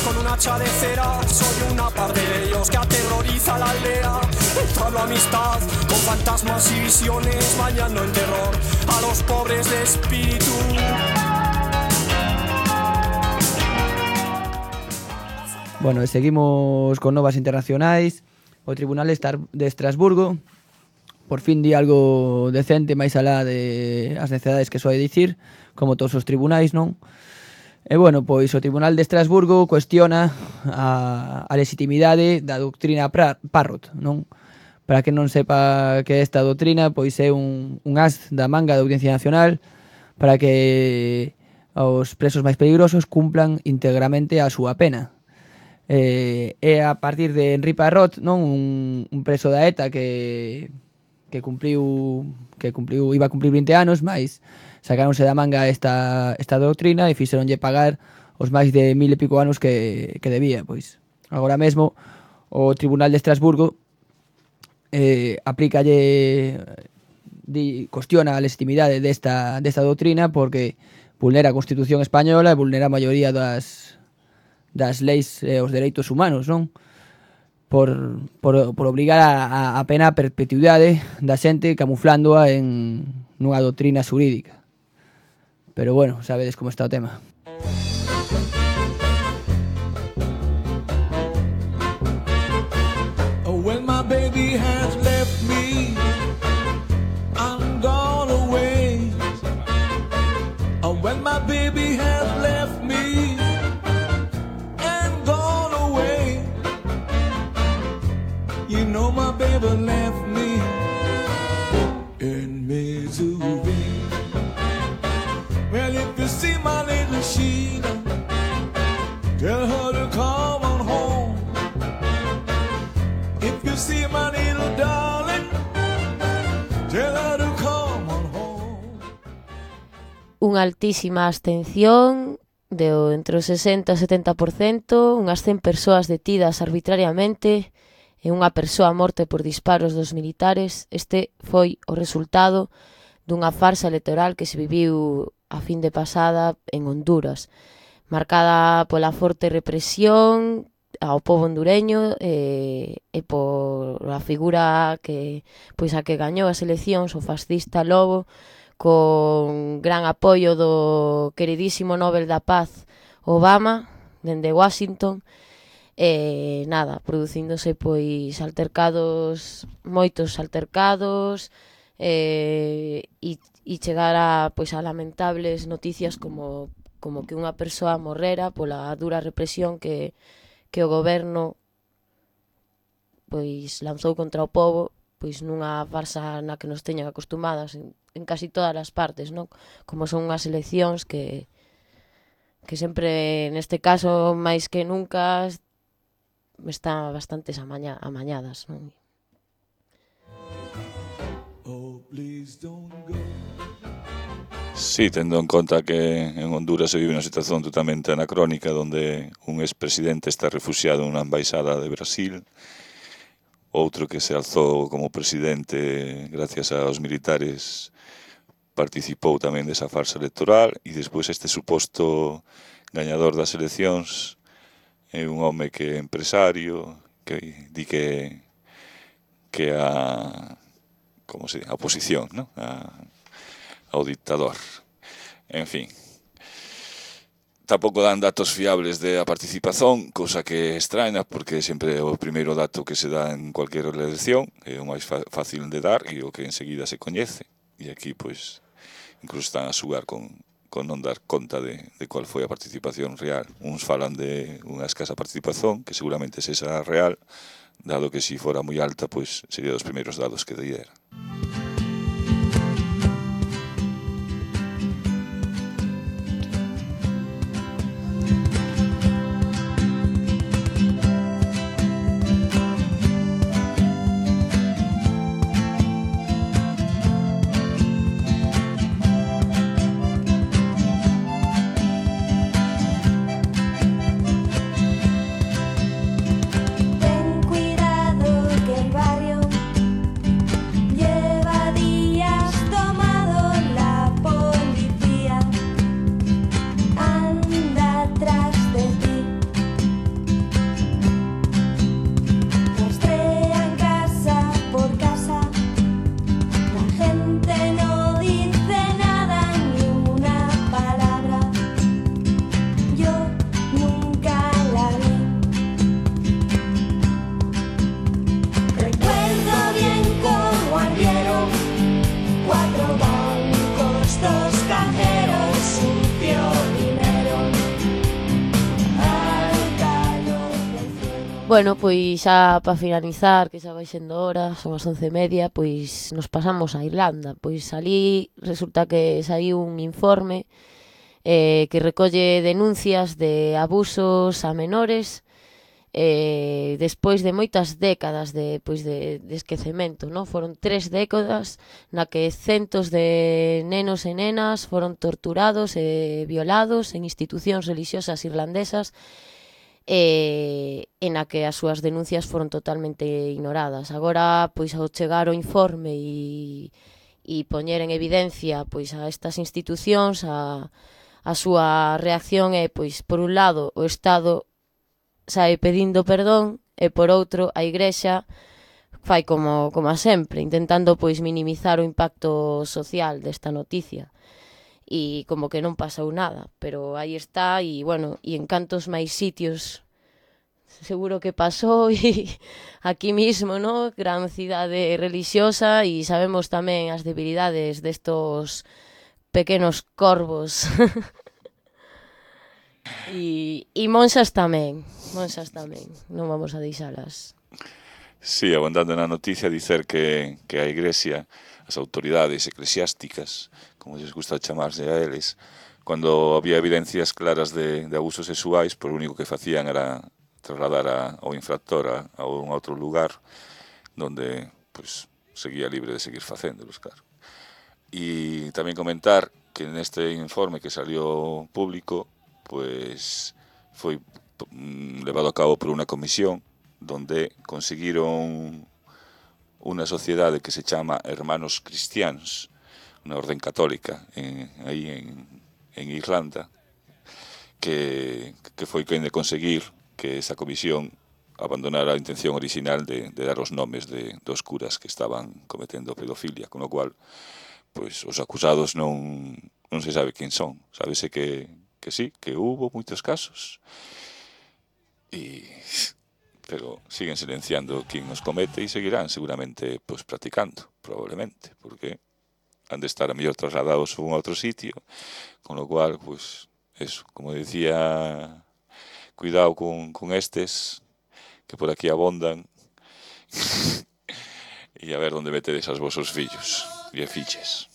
Con un hacha de cera, soy una parte de ellos que aterroriza la aldea. Entablo amistad con fantasmas y visiones, bañando en terror a los pobres de espíritu. Bueno, seguimos con novas internacionais. O Tribunal de Estrasburgo por fin di algo decente máis alá de as necedades que soe dicir, como todos os tribunais, non? E, bueno, pois o Tribunal de Estrasburgo cuestiona a legitimidade da doutrina Parrot, non? Para que non sepa que esta doutrina, pois é un as da manga da Audiencia Nacional para que os presos máis peligrosos cumplan íntegramente a súa pena. É a partir de Henri Parrot, non? Un preso da ETA que iba a cumplir 20 anos, mais sacáronse da manga esta doutrina e fixeronlle pagar os máis de 1000 e pico anos que debía. Pois agora mesmo o Tribunal de Estrasburgo cuestiona a legitimidade desta doutrina porque vulnera a Constitución española e vulnera a maioría das leis e os dereitos humanos, non? Por obrigar a pena a perpetuidade da xente camuflándoa nunha doutrina xurídica. Pero, bueno, sabedes como está o tema. When my baby has left me and gone away, when my baby has left me and gone away, you know my baby left me in misery. Well, if you see my little Sheila, tell her to come on home. If you see my little darling, tell her to come on home. Unha altísima abstención entre o 60 e 70%, unhas 100 persoas detidas arbitrariamente e unha persoa morte por disparos dos militares. Este foi o resultado dunha farsa electoral que se viviu a fin de pasada en Honduras, marcada pola forte represión ao pobo hondureño e pola figura que a que gañou as eleccións, o fascista Lobo, con gran apoio do queridísimo Nobel da Paz Obama, dende Washington, producíndose pois moitos altercados, e chegar a lamentables noticias como como que unha persoa morrera pola dura represión que o goberno pois lanzou contra o pobo, pois nunha farsa na que nos teñan acostumadas en casi todas as partes, non? Como son unhas eleccións que sempre, neste caso, máis que nunca, están bastante amañadas, non? Sí, tendo en conta que en Honduras se vive unha situación totalmente anacrónica onde un expresidente está refugiado nunha embaixada de Brasil, outro que se alzou como presidente gracias aos militares participou tamén desa farsa electoral, e despois este suposto gañador das eleccións é un home que é empresario, que di que a oposición, ¿no? Ao dictador. En fin, tampouco dan datos fiables de a participación, cousa que extraña, porque sempre o primeiro dato que se dá en cualquier elección é o máis fácil de dar e o que enseguida se coñece. E aquí, pois, incluso están a xugar con non dar conta de cual foi a participación real. Uns falan de unha escasa participación, que seguramente sexa real, dado que se fora moi alta, pois sería dos primeiros dados que diera. Bueno, pois xa para finalizar, que xa vai sendo hora, son as 11:30, pois nos pasamos a Irlanda. Pois ali resulta que saiu un informe que recolle denuncias de abusos a menores despois de moitas décadas de esquecemento, non? Foron 3 décadas na que centos de nenos e nenas foron torturados e violados en institucións religiosas irlandesas, en a que as súas denuncias foron totalmente ignoradas. Agora, pois, ao chegar o informe e poñer en evidencia pois a estas institucións, a súa reacción é, pois, por un lado, o Estado sae pedindo perdón e, por outro, a Igrexa fai como a sempre, intentando, pois, minimizar o impacto social desta noticia. E como que non pasou nada, pero aí está, e bueno, e en cantos máis sitios seguro que pasou, e aquí mismo, ¿no? Gran cidade religiosa, e sabemos tamén as debilidades destos pequenos corvos. E monxas tamén, non vamos a deixalas. Sí, abundando na noticia dicer que a Iglesia, as autoridades eclesiásticas, como lles gusta chamarse a eles, cando había evidencias claras de abusos sexuais, por o único que facían era trasladar ao infractor a un outro lugar donde pues, seguía libre de seguir facéndolos, claro. E tamén comentar que neste informe que salió público pues foi levado a cabo por unha comisión donde conseguiron unha sociedade que se chama Hermanos Cristianos, unha orden católica aí en Irlanda, que foi quen de conseguir que esa comisión abandonara a intención original de dar os nomes dos curas que estaban cometendo pedofilia, con o cual pois, os acusados non se sabe quen son. Sábese que sí, que hubo moitos casos, pero siguen silenciando quen os comete e seguirán seguramente pues, practicando, probablemente, porque han de estar a mellor trasladados a un outro sitio, con lo cual, pues, eso, como decía, cuidado con estes, que por aquí abondan, e a ver onde metedes aos vosos fillos e filles.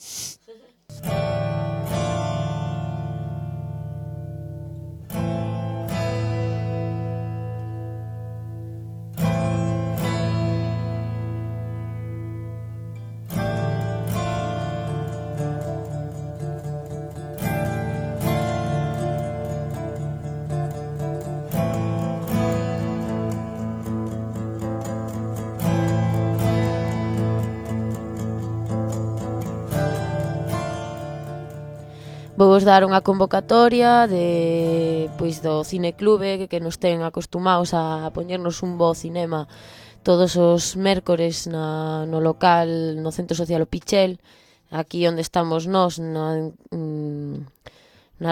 Vou dar unha convocatoria do cineclube que nos ten acostumados a poñernos un bo cinema todos os mércores no local, no Centro Social O Pichel, aquí onde estamos nós, na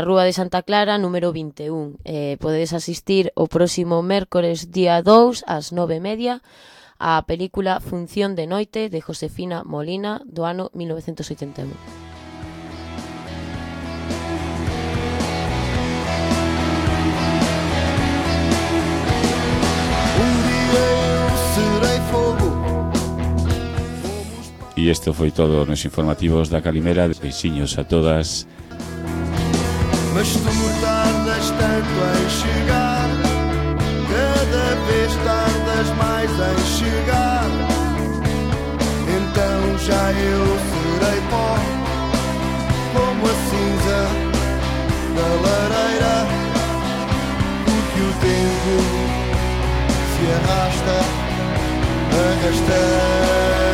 Rúa de Santa Clara, número 21. Podedes asistir o próximo mércores día 2 ás 9:30 á película Función de Noite de Josefina Molina do ano 1981. E isto foi todo nos informativos da Calimera. Beixiños a todas. Mas tu tardas tanto em chegar, cada vez tardas mais em chegar. Então já eu serei pó, como a cinza da lareira, porque o tempo se arrasta, arrastando.